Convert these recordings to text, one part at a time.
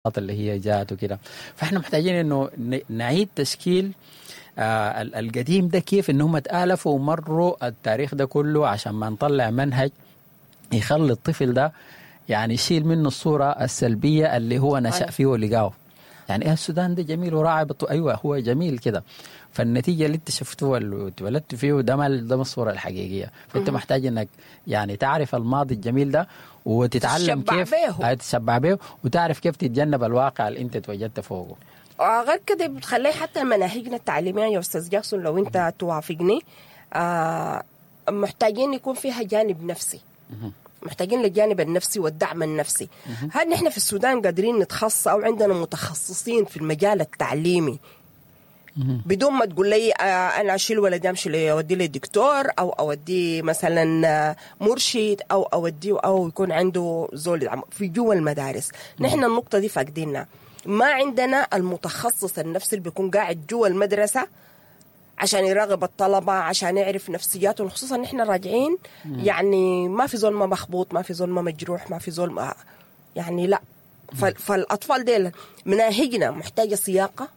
اللي هي جات وكده. فاحنا محتاجين انه نعيد تشكيل القديم ده، كيف ان هم تآلفوا ومروا التاريخ ده كله، عشان ما نطلع منهج يخلي الطفل ده يعني يشيل منه الصورة السلبية اللي هو نشأ فيه ولقاه. يعني ايه السودان ده جميل وراعي ايوه هو جميل كده، فالنتيجه اللي انت شفتوها اللي اتولدت فيه ده ما ده الصورة الحقيقية. فانت محتاج انك يعني تعرف الماضي الجميل ده وتتعلم كيف تتشبع به، وتعرف كيف تتجنب الواقع اللي انت اتوجدت فوقه. غير كده بتخلي حتى مناهجنا التعليمية يا استاذ جاكسون، لو انت توافقني، محتاجين يكون فيها جانب نفسي. محتاجين للجانب النفسي والدعم النفسي. هل نحن في السودان قادرين نتخصص او عندنا متخصصين في المجال التعليمي؟ بدون ما تقول لي انا اشيل ولدي امشي اوديه لدكتور او اوديه مثلا مرشد او اوديه او يكون عنده زول في جوا المدارس. نحن النقطة دي فاقدينها، ما عندنا المتخصص النفسي اللي بيكون قاعد جوا المدرسة عشان يراقب الطلبة، عشان يعرف نفسياتهم، خصوصا نحن راجعين يعني ما في زول ما مخبوط، ما في زول ما مجروح، ما في زول ما يعني لا. فالأطفال ديل مناهجنا محتاجة سياقة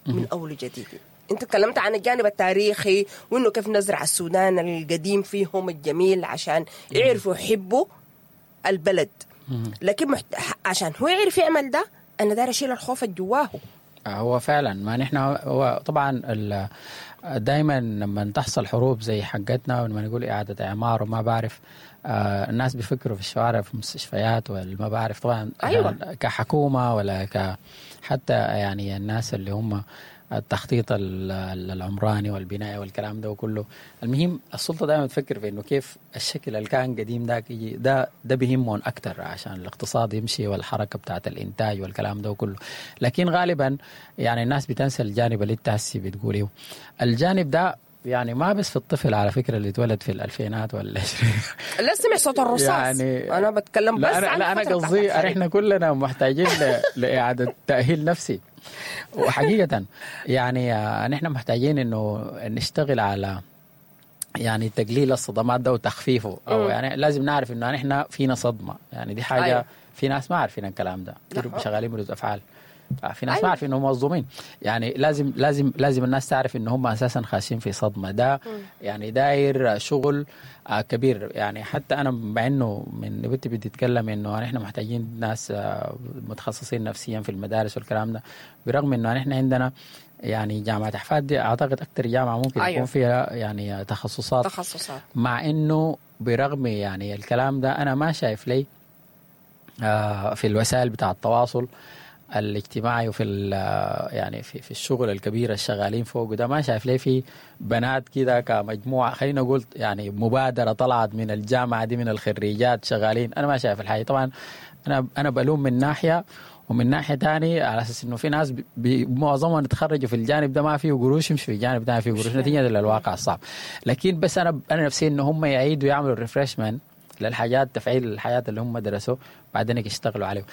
من أول جديد. انت تكلمت عن الجانب التاريخي وانه كيف نزرع السودان القديم فيهم الجميل عشان يعرفوا يحبوا البلد، لكن عشان هو يعرف يعمل ده انا داير اشيل الخوف الجواه. هو فعلا ما نحن هو طبعا دائما لما تحصل حروب زي حقتنا ولما نقول اعاده اعمار وما بعرف، الناس بيفكروا في الشوارع، في المستشفيات وما بعرف طبعا. أيوة. كحكومة ولا حتى يعني الناس اللي هم التخطيط العمراني والبناء والكلام ده وكله. المهم السلطة دائما تفكر في انه كيف الشكل اللي كان قديم ذاك يجي، ده بيهمهم اكثر عشان الاقتصاد يمشي والحركة بتاعت الانتاج والكلام ده وكله. لكن غالبا يعني الناس بتنسى الجانب اللي انت هسي بتقوليه، الجانب ده يعني ما بس في الطفل على فكرة اللي اتولد في الالفينات ولا لا سمع صوت الرصاص يعني. انا بتكلم بس عن لا انا قصدي احنا كلنا محتاجين لاعادة تاهيل نفسي، وحقيقة يعني نحن محتاجين انه نشتغل على يعني تقليل الصدمات ده وتخفيفه، او يعني لازم نعرف انه نحن فينا صدمة، يعني دي حاجة. أيوة. في ناس ما عارفين الكلام ده، شغالين بردود افعال، في ناس. أيوة. ما عارفين انهم مظلومين، يعني لازم لازم لازم الناس تعرف ان هم اساسا خاشين في صدمة ده. يعني داير شغل كبير. يعني حتى انا مع انه من بنتي بتتكلم انه نحن محتاجين ناس متخصصين نفسيا في المدارس والكلام ده، برغم انه نحن عندنا يعني جامعه احفاد دي اعتقد اكثر جامعه ممكن. أيوة. يكون فيها يعني تخصصات، مع انه برغم يعني الكلام ده انا ما شايف لي في الوسائل بتاع التواصل الاجتماعي وفي يعني في الشغل الكبير الشغالين فوق ده، ما شايف ليه في بنات كده كمجموعة، خلينا نقول يعني مبادرة طلعت من الجامعة دي من الخريجات شغالين، انا ما شايف الحاجة. طبعا انا بلوم من ناحية، ومن ناحية ثانية على اساس انه في ناس معظمهم تخرجوا في الجانب ده ما فيه قروش، يمشي في الجانب ده ما فيه قروش نتيجة للواقع الصعب. لكن بس انا نفسي انه هم يعيدوا يعملوا refreshment للحاجات، تفعيل الحياة اللي هم درسوه بعدين يشتغلوا عليه.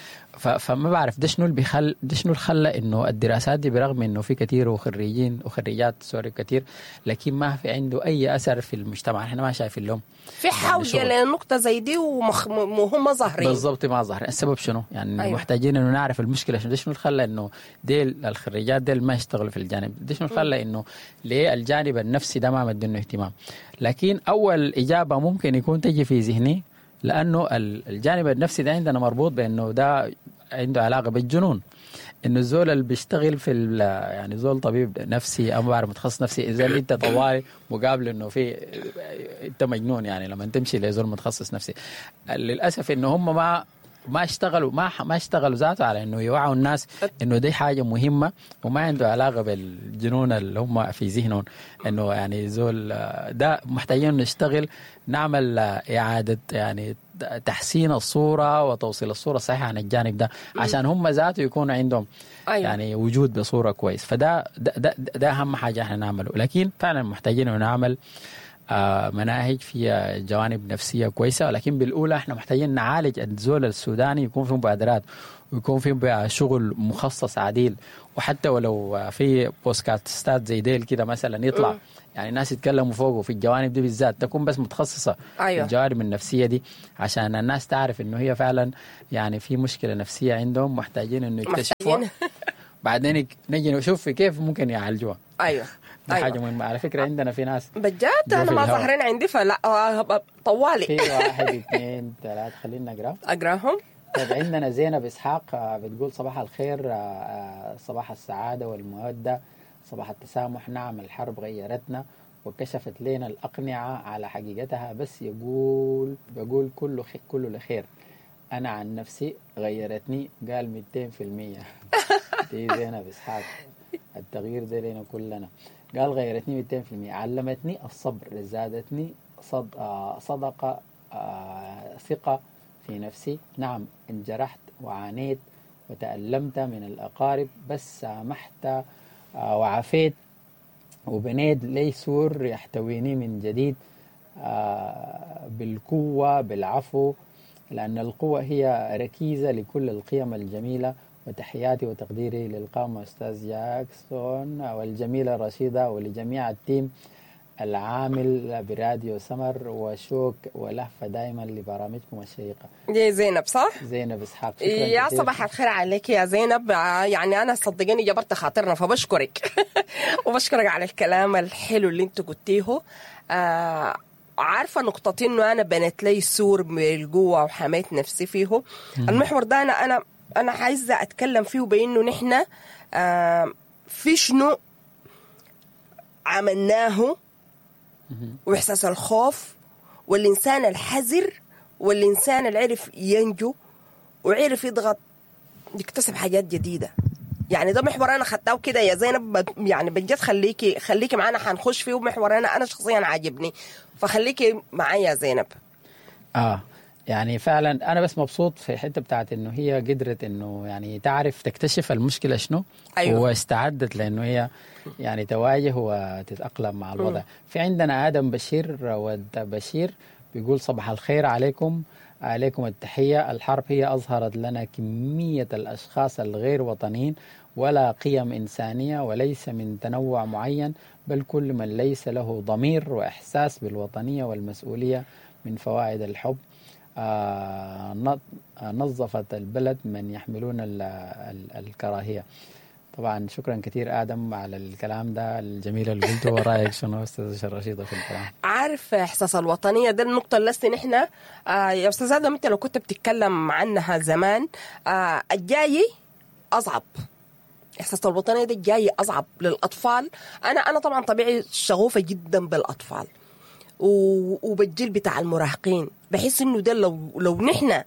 فما بعرف ده شنو اللي بيخل ده شنو اللي خلى انه الدراسات دي برغم انه في كثير وخريجين وخريجات sorry كثير، لكن ما في عنده اي اثر في المجتمع. احنا ما شايفين لهم في حوجه يعني لنقطة زي دي وهم ظاهرين بالضبط، ما ظاهرين. السبب شنو؟ يعني. أيوة. محتاجين انه نعرف المشكلة شنو، ده شنو اللي خلى انه ديل الخريجات ديل ما يشتغلوا في الجانب ده، شنو اللي خلى انه ليه الجانب النفسي ده ما مدينة اهتمام. لكن اول اجابه ممكن يكون تجي في ذهني، لانه الجانب النفسي ده عندنا مربوط بانه ده عنده علاقة بالجنون، انه الزول اللي بيشتغل في يعني زول طبيب نفسي او بعرف متخصص نفسي، اذا انت طوالي مقابل انه في انت مجنون، يعني لما تمشي لزول متخصص نفسي. للاسف انه هم ما اشتغلوا ما اشتغلوا ذاته على انه يوعوا الناس انه دي حاجة مهمة وما عنده علاقة بالجنون اللي هم في ذهنهم، انه يعني زول ده محتاجين نشتغل نعمل اعاده يعني تحسين الصورة وتوصيل الصورة الصحيحة عن الجانب ده عشان هم ذاته يكون عندهم. أيوة. يعني وجود بصورة كويس. فده ده, ده, ده اهم حاجة احنا نعمله. لكن فعلا محتاجين انه نعمل مناهج فيها جوانب نفسية كويسة، ولكن بالاولى احنا محتاجين نعالج الزول السوداني، يكون في مبادرات ويكون في شغل مخصص عديل، وحتى ولو في بودكاستات زي ديل كده مثلا يطلع. يعني الناس يتكلموا فوقه في الجوانب دي بالذات، تكون بس متخصصة أيوة. في الجوانب النفسية دي، عشان الناس تعرف انه هي فعلا يعني في مشكلة نفسية عندهم، محتاجين انه يكتشفوها. بعدين نجي نشوف كيف ممكن يعالجوها. ايوه دي أيوة. حاجة مهمة على فكرة. عندنا في ناس بجد انا ما ظاهرين عندي، فلا طوالي في 1 2 3 خلينا نقرا اقراهم. طيب عندنا زينب اسحاق بتقول صباح الخير، صباح السعادة والمودة، صباح التسامح. نعم الحرب غيرتنا وكشفت لنا الأقنعة على حقيقتها، بس بقول كله لخير. أنا عن نفسي غيرتني، قال 200%. دي زينب إسحاق، التغيير ده لنا كلنا. قال غيرتني 200%، علمتني الصبر، زادتني صدقة، ثقة في نفسي. نعم انجرحت وعانيت وتألمت من الأقارب، بس سامحت وعافيت وبنيت لي سور يحتويني من جديد، بالقوة بالعفو، لأن القوة هي ركيزة لكل القيم الجميلة. وتحياتي وتقديري للقامة أستاذ جاكسون والجميلة رشيدة ولجميع ال team العامل براديو سمر، وشوك ولهفة دائما لبرامجكم الشيقة. دي زينب صح؟ زينب إسحاق. يا صباح الخير عليك يا زينب. يعني أنا صدقيني جبرت خاطرنا، فبشكرك وبشكرك على الكلام الحلو اللي انت قلتيه. عارفة نقطتين، انه أنا بنت لي سور من القوة وحميت نفسي فيه. المحور ده أنا عايزة أتكلم فيه، بأنه نحن في شنو عملناه، وإحساس الخوف، والإنسان الحذر، والإنسان اللي عرف ينجو وعرف يضغط يكتسب حاجات جديدة. يعني ده محور أنا خدته كده يا زينب، يعني بجد خليكي معانا، حنخش فيه. محور أنا شخصيا عاجبني، فخليكي معايا يا زينب. يعني فعلا أنا بس مبسوط في حتة بتاعت إنه هي قدرت إنه يعني تعرف تكتشف المشكلة شنو. أيوة. واستعدت لأنه هي يعني تواجه وتتأقلم مع الوضع. في عندنا آدم بشير ود بشير بيقول صباح الخير عليكم، عليكم التحية. الحرب هي أظهرت لنا كمية الأشخاص الغير وطنيين ولا قيم إنسانية، وليس من تنوع معين، بل كل من ليس له ضمير وإحساس بالوطنية والمسؤولية من فوائد الحب. نظفت البلد من يحملون الكراهية. طبعا شكرا كثير آدم على الكلام ده الجميل اللي قلته. ورأيك شنو أستاذ رشيدة في الكلام؟ عارف إحساس الوطنية ده النقطة اللي نحن يا أستاذ آدم أنت لو كنت بتتكلم عنها زمان، الجاي أصعب. إحساس الوطنية ده الجاي أصعب للأطفال. أنا طبعا طبيعي شغوفة جدا بالأطفال وبالجيل بتاع المراهقين، بحس إنه ده لو نحن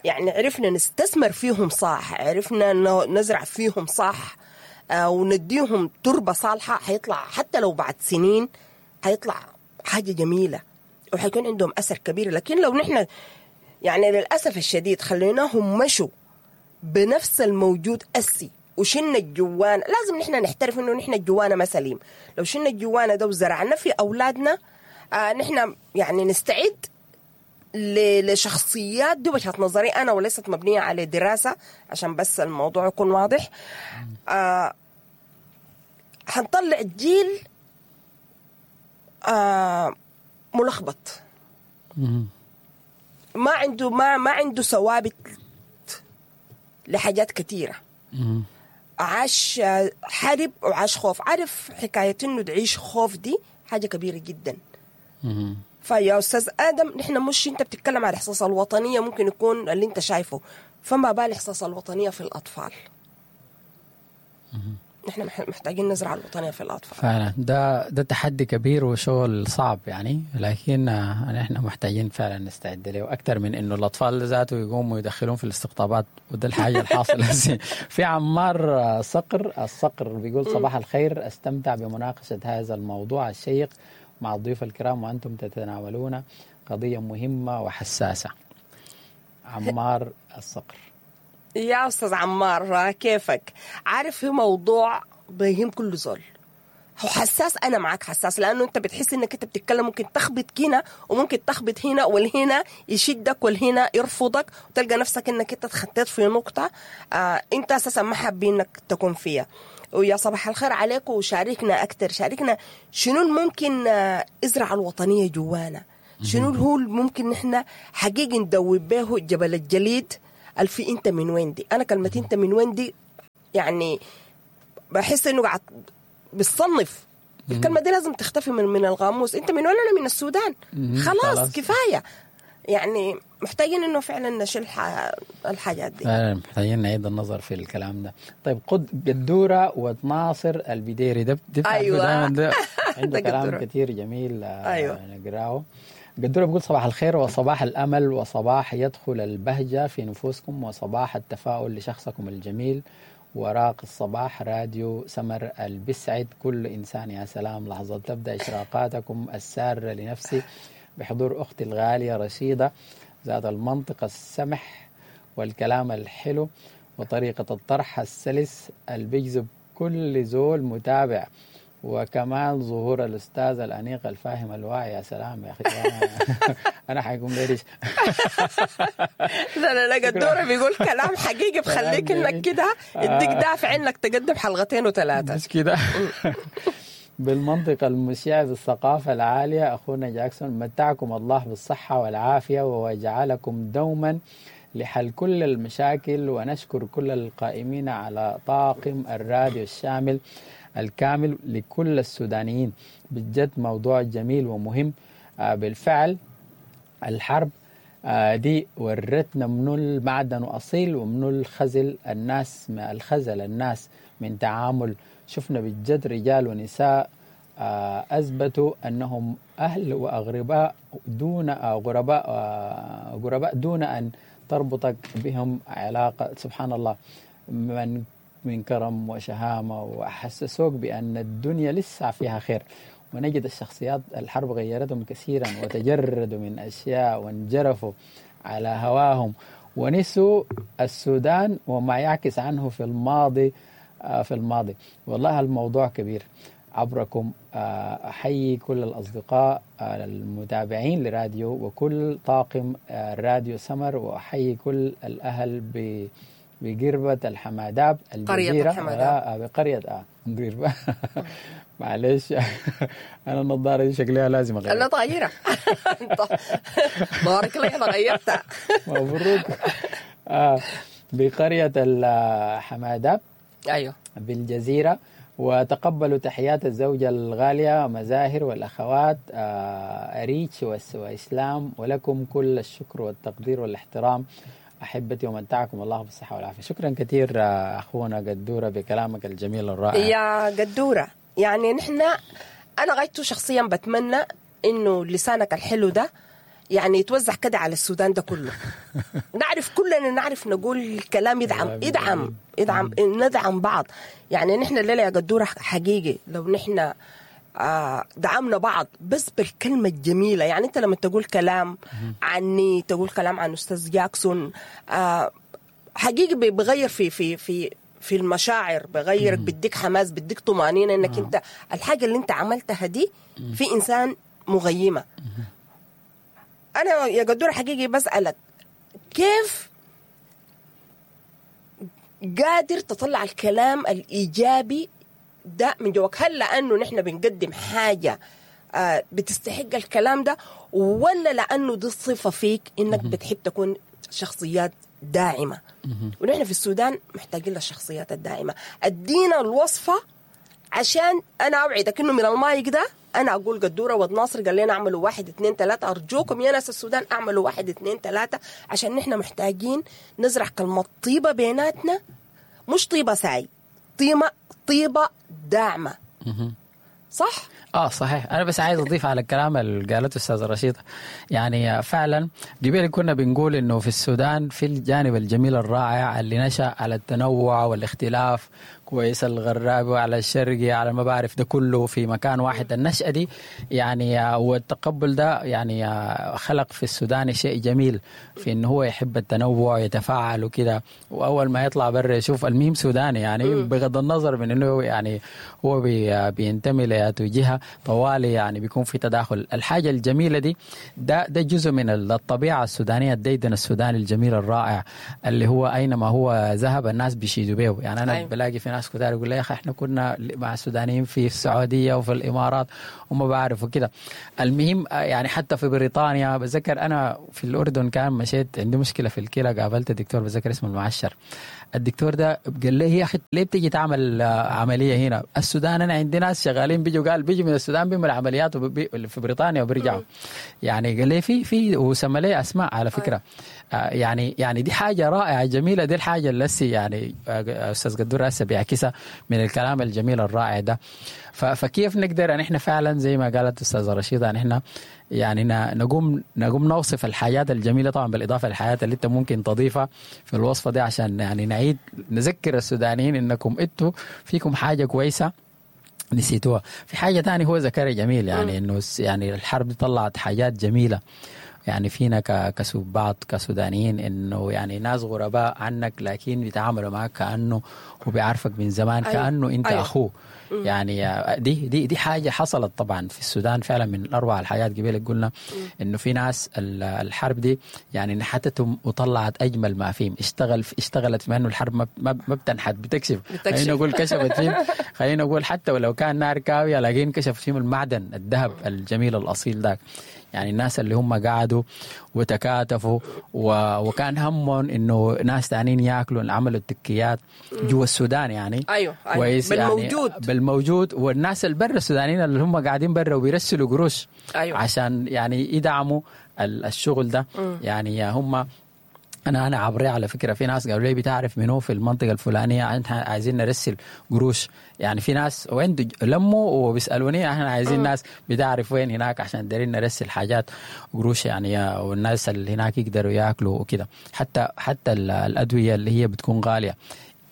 يعني عرفنا نستثمر فيهم صح، عرفنا نزرع فيهم صح، ونديهم تربة صالحة، حيطلع حتى لو بعد سنين حيطلع حاجة جميلة وحيكون عندهم أثر كبير. لكن لو نحن يعني للأسف الشديد خليناهم مشوا بنفس الموجود أسي وشلنا الجوانا، لازم نحن نحترف إنه نحن الجوانا ما سليم. لو شلنا الجوانا ده وزرعنا في أولادنا، نحن يعني نستعد لشخصيات دي وجهة نظري أنا وليست مبنية على دراسة عشان بس الموضوع يكون واضح. حنطلع جيل ملخبط، ما عنده ما عنده ثوابت لحاجات كثيرة. عاش حرب وعاش خوف. عارف حكاية إنه تعيش خوف دي حاجة كبيرة جدا. فيا أستاذ آدم نحن مش أنت بتتكلم على إحساس الوطنية ممكن يكون اللي أنت شايفه، فما بال إحساس الوطنية في الأطفال. نحن محتاجين نزرع الوطنية في الأطفال فعلا. ده تحدي كبير وشغل صعب يعني، لكن نحن محتاجين فعلا نستعد له أكثر من إنه الأطفال ذاته يقوموا يدخلون في الاستقطابات، وده الحاجة الحاصلة. في عمار صقر الصقر بيقول صباح الخير، استمتع بمناقشة هذا الموضوع الشيق مع الضيوف الكرام وأنتم تتناولون قضية مهمة وحساسة. عمار الصقر. يا أستاذ عمار كيفك؟ عارف في موضوع بيهم كل زول، هو حساس، انا معاك حساس، لانه انت بتحس انك انت بتتكلم ممكن تخبط هنا وممكن تخبط هنا، والهنا يشدك والهنا يرفضك، وتلقى نفسك انك انت اتخطيت في نقطة انت اساسا ما حابين انك تكون فيها. ويا صباح الخير عليكم، وشاركنا اكثر، شاركنا شنو الممكن ازرع الوطنية جوانا، شنو هو ممكن نحن حقيقي ندوب به جبل الجليد الفي انت من وين دي. انا كلمة انت من وين دي يعني بحس انه قاعد بتصنف الكلمة دي، لازم تختفي من القاموس. انت من وين؟ انا من السودان. خلاص كفاية، يعني محتاجين انه فعلا نشيل الحاجات دي، محتاجين نعيد النظر في الكلام ده. طيب قدورة وناصر البديري ده ايوه دايما ده عنده كلام كثير جميل. ايوه نقراه. قدورة بيقول صباح الخير وصباح الأمل وصباح يدخل البهجة في نفوسكم وصباح التفاؤل لشخصكم الجميل وراق الصباح راديو سمر البسعد كل إنسان. يا سلام، لحظة تبدأ إشراقاتكم السارة لنفسي بحضور أختي الغالية رشيدة ذات المنطق السمح والكلام الحلو وطريقة الطرح السلس البيجذب كل زول متابع، وكمان ظهور الأستاذ الأنيق الفاهم الواعي. يا سلام يا أخي، أنا حيكون ليش. لا لا لا، قدورة بيقول كلام حقيقي بخليك إنك كده يديك دافع إنك تقدم حلقتين وثلاثة، مش كده؟ بالمنطق المشع بالثقافة العالية أخونا جاكسون، متعكم الله بالصحة والعافية وجعلكم دوما لحل كل المشاكل، ونشكر كل القائمين على طاقم الراديو الشامل الكامل لكل السودانيين. بجد موضوع جميل ومهم. بالفعل الحرب دي ورتنا منو المعدن أصيل ومنو الخزل الناس، الخزل الناس من تعامل. شفنا بجد رجال ونساء أثبتوا أنهم أهل وأغرباء دون غرباء دون أن تربطك بهم علاقة. سبحان الله، من كرم وشهامة، وحسسوك بأن الدنيا لسه فيها خير. ونجد الشخصيات الحرب غيرتهم كثيرا وتجردوا من أشياء وانجرفوا على هواهم ونسوا السودان وما يعكس عنه في الماضي. والله الموضوع كبير. عبركم أحيي كل الأصدقاء المتابعين لراديو وكل طاقم راديو سمر، وأحيي كل الأهل بقربة الحماداب الجزيرة، قرية بقرية قربة. معلش أنا النظارة دي شكلها لازم أغيرها. لا طايرة، بارك الله أنا غيرتها. مبروك. بقرية الحماداب، أيوه، بالجزيرة. وتقبلوا تحيات الزوجة الغالية مزاهر والأخوات أريتش وإسلام، ولكم كل الشكر والتقدير والاحترام أحبتي، ومتعكم الله بالصحة والعافية. شكرا كثير أخونا قدورة بكلامك الجميل الرائع. يا قدورة، يعني نحن أنا غايته شخصيا بتمنى إنه لسانك الحلو ده يعني يتوزع كده على السودان ده كله. نعرف كلنا، نعرف نقول الكلام يدعم يدعم يدعم، ندعم بعض. يعني نحن الليلة يا قدورة حقيقي لو نحن دعمنا بعض بس بالكلمة الجميلة. يعني أنت لما تقول كلام عني، تقول كلام عن أستاذ جاكسون، حقيقي بغير في في في في المشاعر، بغيرك، بديك حماس، بديك طمأنينة إنك أنت الحاجة اللي أنت عملتها دي في إنسان مغيمة. أنا يا قدورة حقيقي بسألك كيف قادر تطلع الكلام الإيجابي ده من جواك؟ هل لأنه نحن بنقدم حاجة بتستحق الكلام ده، ولا لأنه دي الصفة فيك إنك بتحب تكون شخصيات داعمة؟ ونحن في السودان محتاجين للشخصيات الداعمة. ادينا الوصفة عشان أنا أوعدك إنه من المايك ده أنا أقول قدورة ود ناصر قال لنا أعملوا 1 2 3، أرجوكم يا ناس السودان أعملوا 1 2 3، عشان نحن محتاجين نزرع كلمة طيبة بيناتنا، مش طيبة ساي، طيبة داعمة. صح؟ صحيح. أنا بس عايز أضيف على الكلام اللي قالته الأستاذة رشيدة. يعني فعلا قبل كنا بنقول إنه في السودان في الجانب الجميل الرائع اللي نشأ على التنوع والاختلاف، كويس الغرابي وعلى الشرقي على ما بعرف ده كله في مكان واحد. النشأة دي يعني والتقبل ده يعني خلق في السودان شيء جميل في انه هو يحب التنوع يتفاعل وكده، واول ما يطلع برا يشوف الميم سوداني يعني بغض النظر من انه يعني هو بينتمي لأي جهة طوالي يعني بيكون في تداخل. الحاجة الجميلة دي ده جزء من الطبيعة السودانية، الديدن السوداني الجميل الرائع اللي هو اينما هو ذهب الناس بيشيدوا به. يعني انا بلاقي في ناس كتار يقول لي يا اخي احنا كنا مع السودانيين في السعودية وفي الامارات وما بعرف وكده. المهم يعني حتى في بريطانيا بتذكر انا في الاردن كان مشيت عندي مشكلة في الكلى، قابلت دكتور بتذكر اسمه المعشر. الدكتور ده قال لي يا اخي ليه بتيجي تعمل عملية هنا السودان؟ انا عندي ناس شغالين بيجوا، قال بيجوا من السودان بيعملوا عمليات في بريطانيا وبيرجعوا. يعني قال لي في وسمى لي اسماء على فكرة. يعني دي حاجة رائعة جميلة، دي الحاجة اللي يعني استاذ قدور هسه بيعكسها من الكلام الجميل الرائع ده. فكيف نقدر ان احنا فعلا زي ما قالت استاذه رشيده ان احنا يعني نقوم نوصف الحاجات الجميلة، طبعا بالاضافة للحاجات اللي انت ممكن تضيفها في الوصفة دي عشان يعني نعيد نذكر السودانيين انكم انتوا فيكم حاجة كويسة نسيتوها. في حاجة ثانية هو ذكرها جميل، يعني انه يعني الحرب دي طلعت حاجات جميلة يعني فينا بعض كسودانيين، انه يعني ناس غرباء عنك لكن بيتعاملوا معك كانه هو بيعرفك من زمان. أيوة. كانه انت أيوة. اخوه. يعني دي حاجة حصلت طبعا في السودان فعلا من اروع الحاجات. قبل قلنا انه في ناس الحرب دي يعني نحتتهم وطلعت اجمل ما فيهم، اشتغلت في انه الحرب ما بتنحت، بتكشف. خلينا نقول كشفت فيهم، خلينا نقول حتى ولو كان نار كاويه لكن كشف فيهم المعدن الذهب الجميل الاصيل ذاك. يعني الناس اللي هم قعدوا وتكاتفوا وكان همهم انه ناس تانيين ياكلوا، عملوا التكيات جوا السودان يعني. ايوه, أيوة. بالموجود يعني بالموجود. والناس البر السودانيين اللي هم قاعدين برا وبيرسلوا قروش. أيوة. عشان يعني يدعموا الشغل ده. يعني هم انا عبري على فكرة في ناس قالوا لي بتعرف منو في المنطقة الفلانية عايزين نرسل قروش. يعني في ناس وين لموا وبيسالوني احنا عايزين ناس بتعرف وين هناك عشان دارين نرسل حاجات قروش يعني، والناس اللي هناك يقدروا ياكلوا وكده. حتى الادوية اللي هي بتكون غالية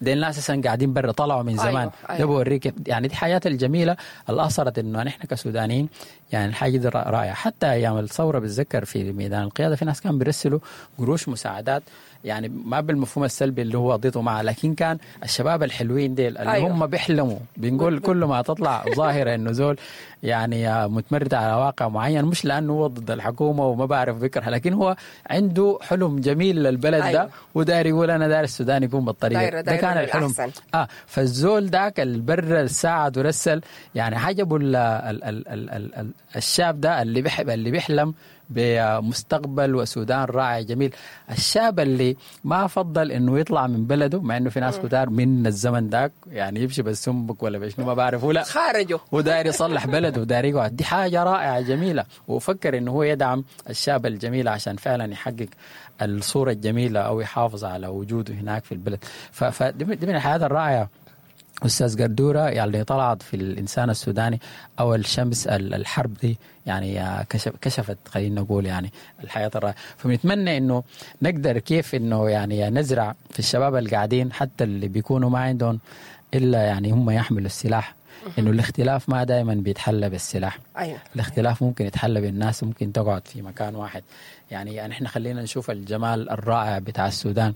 دي الناس اساسا قاعدين برا طلعوا من زمان. أيوة. أيوة. ده بوريك يعني دي الحياة الجميلة اللي اثرت انه نحن كسودانيين يعني الحاجة دي رائعة. حتى ايام الثورة بتذكر في ميدان القيادة في ناس كانوا بيرسلوا قروش مساعدات، يعني ما بالمفهوم السلبي اللي هو ضده معه، لكن كان الشباب الحلوين ديل اللي أيوة. هم بيحلموا، بنقول كل ما تطلع ظاهره انه زول يعني متمرد على واقع معين، مش لانه هو ضد الحكومة وما بعرف بكره، لكن هو عنده حلم جميل للبلد. أيوة. ده وداير يقول انا داير السودان يكون بالطريقة ده كان الحلم. فالزول ذاك البر ساعد ورسل يعني عجبوا الشاب ده اللي بيحب اللي بيحلم بمستقبل وسودان رائع جميل. الشاب اللي ما فضل انه يطلع من بلده، مع انه في ناس كتار من الزمن ذاك يعني يمشي بالسنبك ولا بشنو ما بعرفه، لا خارجه وداير يصلح بلده وداير يقعد. دي حاجة رائعة جميلة، وفكر انه هو يدعم الشاب الجميل عشان فعلا يحقق الصورة الجميلة او يحافظ على وجوده هناك في البلد. فدي من الحياة الرائعة أستاذ قدورة يعني طلعت في الإنسان السوداني أو الشمس الحرب دي يعني كشفت خلينا نقول يعني الحياة الرائعة. فبنتمنى إنه نقدر كيف إنه يعني نزرع في الشباب القاعدين حتى اللي بيكونوا ما عندهم إلا يعني هم يحملوا السلاح، إنه الاختلاف ما دائما بيتحلى بالسلاح. أيوة. الاختلاف ممكن يتحلى بالناس، ممكن تقعد في مكان واحد. يعني نحن خلينا نشوف الجمال الرائع بتاع السودان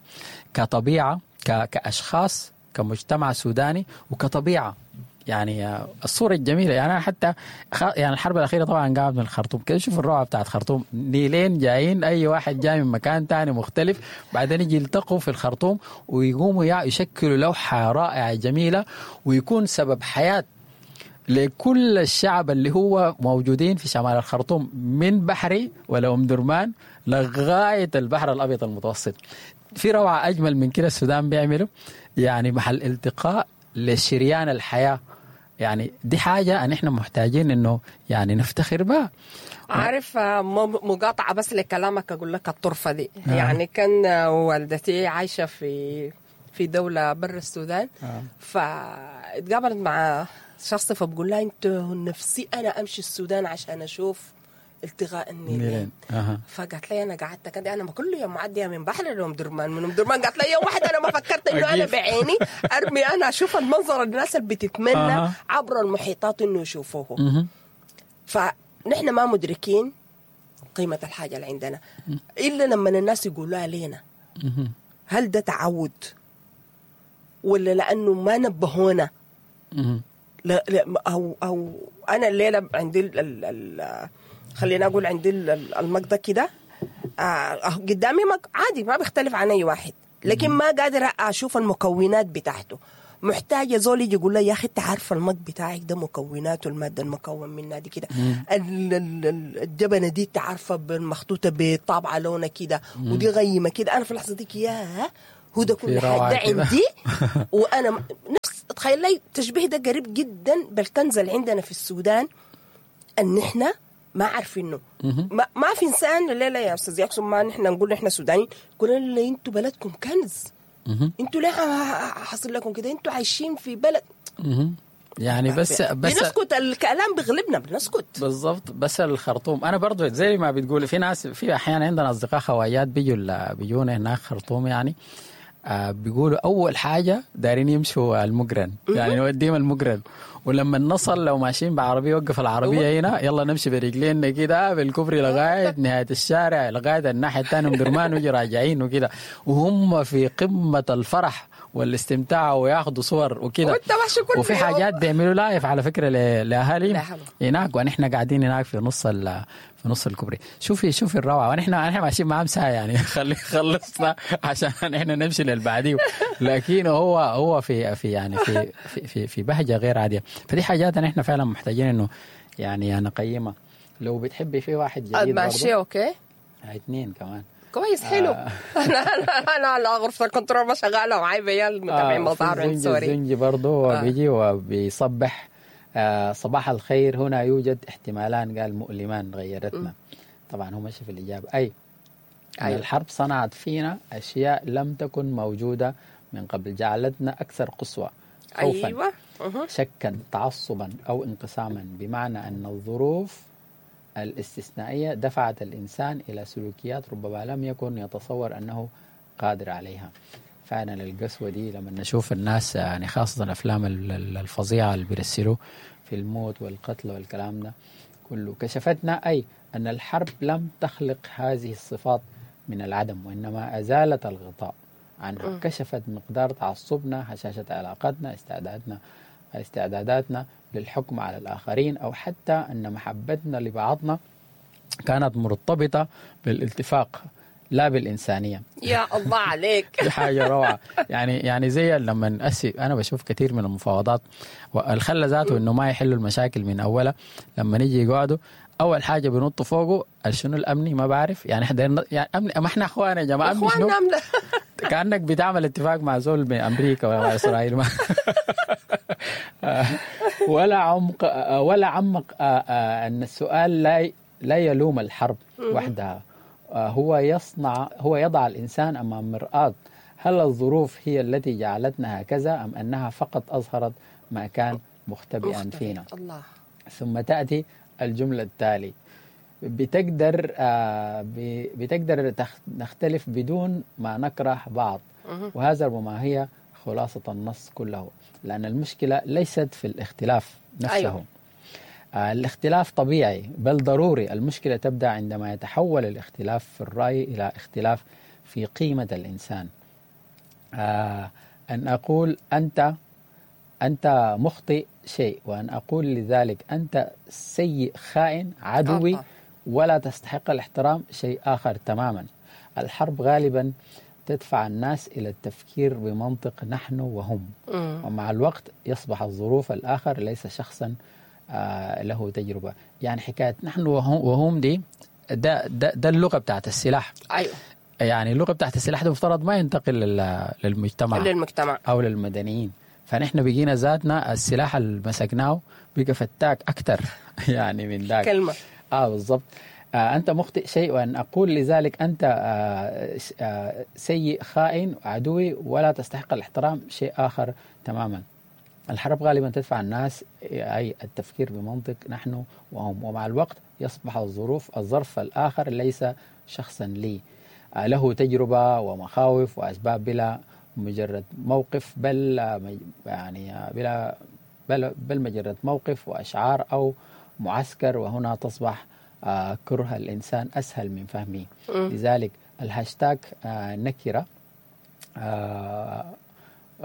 كطبيعة، كأشخاص، كمجتمع سوداني، وكطبيعة. يعني الصورة الجميلة يعني أنا حتى يعني الحرب الأخيرة طبعا قامت من الخرطوم كده، شوف الروعة بتاعت خرطوم، نيلين جايين، أي واحد جاي من مكان تاني مختلف، بعدين يجي يلتقوا في الخرطوم ويقوموا يشكلوا لوحة رائعة جميلة، ويكون سبب حياة لكل الشعب اللي هو موجودين في شمال الخرطوم من بحري ولا أم درمان لغاية البحر الأبيض المتوسط. في روعة أجمل من كده السودان بيعمله، يعني محل التقاء لشريان الحياة. يعني دي حاجة أن إحنا محتاجين إنه يعني نفتخر بها. عارف، مقاطعة بس لكلامك، أقول لك الطرفة دي. يعني كان والدتي عايشة في دولة برا السودان، فاتقابلت مع شخص فبقول لها أنت نفسي أنا أمشي السودان عشان أشوف التقاء النيلين. فقالت لي انا قعدت كده، انا ما كل يوم معدية من بحر لام درمان، من ام درمان. قالت لي يوم واحد انا ما فكرت انه انا بعيني ارمي، انا اشوف المنظر الناس اللي بتتمنى عبر المحيطات انه يشوفوه. فنحن ما مدركين قيمة الحاجة اللي عندنا الا لما الناس يقولوها لنا. هل ده تعود ولا لانه ما نبهونا؟ لا لا، او انا الليلة عندي خلينا اقول عندي المقضى كده قدامي عادي، ما بيختلف عن اي واحد، لكن ما قادرة اشوف المكونات بتاعته. محتاجه زول يجي يقول لي يا اخي انت عارفه المق بتاعك ده مكوناته، المادة المكون منها دي كده، الجبنة دي انت عارفه المخطوطه بطابعه لونها كده، ودي غيمة كده. انا في اللحظة دي يا هو ده كل حاجة ده عندي. وانا نفس تخيل لي التشبيه ده قريب جدا بالكنز اللي عندنا في السودان، ان احنا ما عارفينه. ما في انسان الليلة يا استاذ ياكسون، ما نحن نقول نحن سودانيين، قلنا لنا انتوا بلدكم كنز، انتوا ليه حصل لكم كده؟ انتوا عايشين في بلد يعني بس بنسكت، الكلام بيغلبنا بنسكت. بالضبط. بس الخرطوم انا برضو زي ما بتقولي، في ناس، في احيانا عندنا اصدقاء خواجات بيجونا هناك خرطوم، يعني بيقولوا اول حاجة دارين يمشوا المقرن، يعني نوديهم المقرن، ولما نصل لو ماشيين بعربيه وقف العربية هنا، يلا نمشي برجلينا كده بالكوبري لغاية نهاية الشارع، لغاية الناحية الثانية من درمان، ويجي راجعين وكده، وهم في قمة الفرح والاستمتاع وياخذوا صور وكده. وفي حاجات بيعملوا live على فكرة لاهالي هناك، ونحن قاعدين هناك في نص الكوبري. شوفي الروعة، ونحن ماشيين معاهم ساعة يعني، خلي خلصنا عشان احنا نمشي للبعديه، لكن هو في في يعني في في في بهجة غير عادية. فدي حاجات احنا فعلا محتاجين انه يعني نقيمها. لو بتحبي في واحد جديد ماشي okay، 2 كمان كويس حلو. انا على غرفة الكنترول ما شغالة وعايبه يا المتابعين مظاهر sorry. الزنجي برضه بيجي وبيصبح صباح الخير، هنا يوجد احتمالان قال مؤلمان غيرتنا. طبعا هو ماشي في الاجابة، اي أن الحرب صنعت فينا اشياء لم تكن موجودة من قبل، جعلتنا اكثر قسوة، خوفا، أيوة. شكا، تعصبا او انقساما، بمعنى ان الظروف الاستثنائية دفعت الإنسان إلى سلوكيات ربما لم يكن يتصور أنه قادر عليها. فعلا القسوة دي لما نشوف الناس، يعني خاصة الأفلام الفظيعة اللي بيرسلوا في الموت والقتل والكلام ده كله، كشفتنا أي أن الحرب لم تخلق هذه الصفات من العدم، وإنما أزالت الغطاء عنها. كشفت مقدار تعصبنا، هشاشة علاقاتنا، استعداداتنا للحكم على الآخرين، أو حتى أن محبتنا لبعضنا كانت مرتبطة بالاتفاق لا بالإنسانية. يا الله عليك. دي حاجة روعة. يعني زي لما أنا بشوف كثير من المفاوضات والخلة ذاته إنه ما يحلوا المشاكل من أولها، لما نيجي يقعدوا أول حاجة بنط فوقه شنو الأمني، ما بعرف يعني إحنا يعني أمني، ما إحنا إخوان يا جماعة، أمني شنو؟ كأنك بتعمل اتفاق مع زول من أمريكا ولا مع إسرائيل. ما ولا عمق أن السؤال لا يلوم الحرب وحدها، هو يضع الإنسان أمام مرآة. هل الظروف هي التي جعلتنا هكذا أم أنها فقط أظهرت ما كان مختبئا فينا؟ الله. ثم تأتي الجملة التالي: بتقدر نختلف بدون ما نكره بعض. وهذا ربما هي خلاصة النص كله، لأن المشكلة ليست في الاختلاف نفسه. أيوه. الاختلاف طبيعي بل ضروري. المشكلة تبدأ عندما يتحول الاختلاف في الرأي إلى اختلاف في قيمة الإنسان. أن أقول أنت مخطئ شيء، وأن أقول لذلك أنت سيء خائن عدوي ولا تستحق الاحترام شيء آخر تماما. الحرب غالبا تدفع الناس إلى التفكير بمنطق نحن وهم، ومع الوقت يصبح الظروف الآخر ليس شخصا له تجربة. يعني حكاية نحن وهم دي ده اللغة بتاعت السلاح. أيوة. يعني اللغة بتاعت السلاح ده مفترض ما ينتقل للمجتمع أو للمدنيين. فنحن بقينا ذاتنا السلاح اللي مسكناه بقى فتاك أكتر يعني من ذاك كلمة. بالضبط. أنت مخطئ شيء، وأن أقول لذلك أنت سيء خائن عدوي ولا تستحق الاحترام شيء آخر تماما. الحرب غالبا تدفع الناس أي التفكير بمنطق نحن وهم، ومع الوقت يصبح الظرف الآخر ليس شخصا لي له تجربة ومخاوف وأسباب بلا مجرد موقف، بل يعني بلا بل, بل مجرد موقف وأشعار أو معسكر، وهنا تصبح كره الإنسان أسهل من فهمه. لذلك الهاشتاج نكرة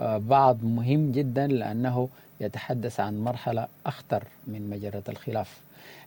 بعض مهم جدا، لأنه يتحدث عن مرحلة أخطر من مجرة الخلاف،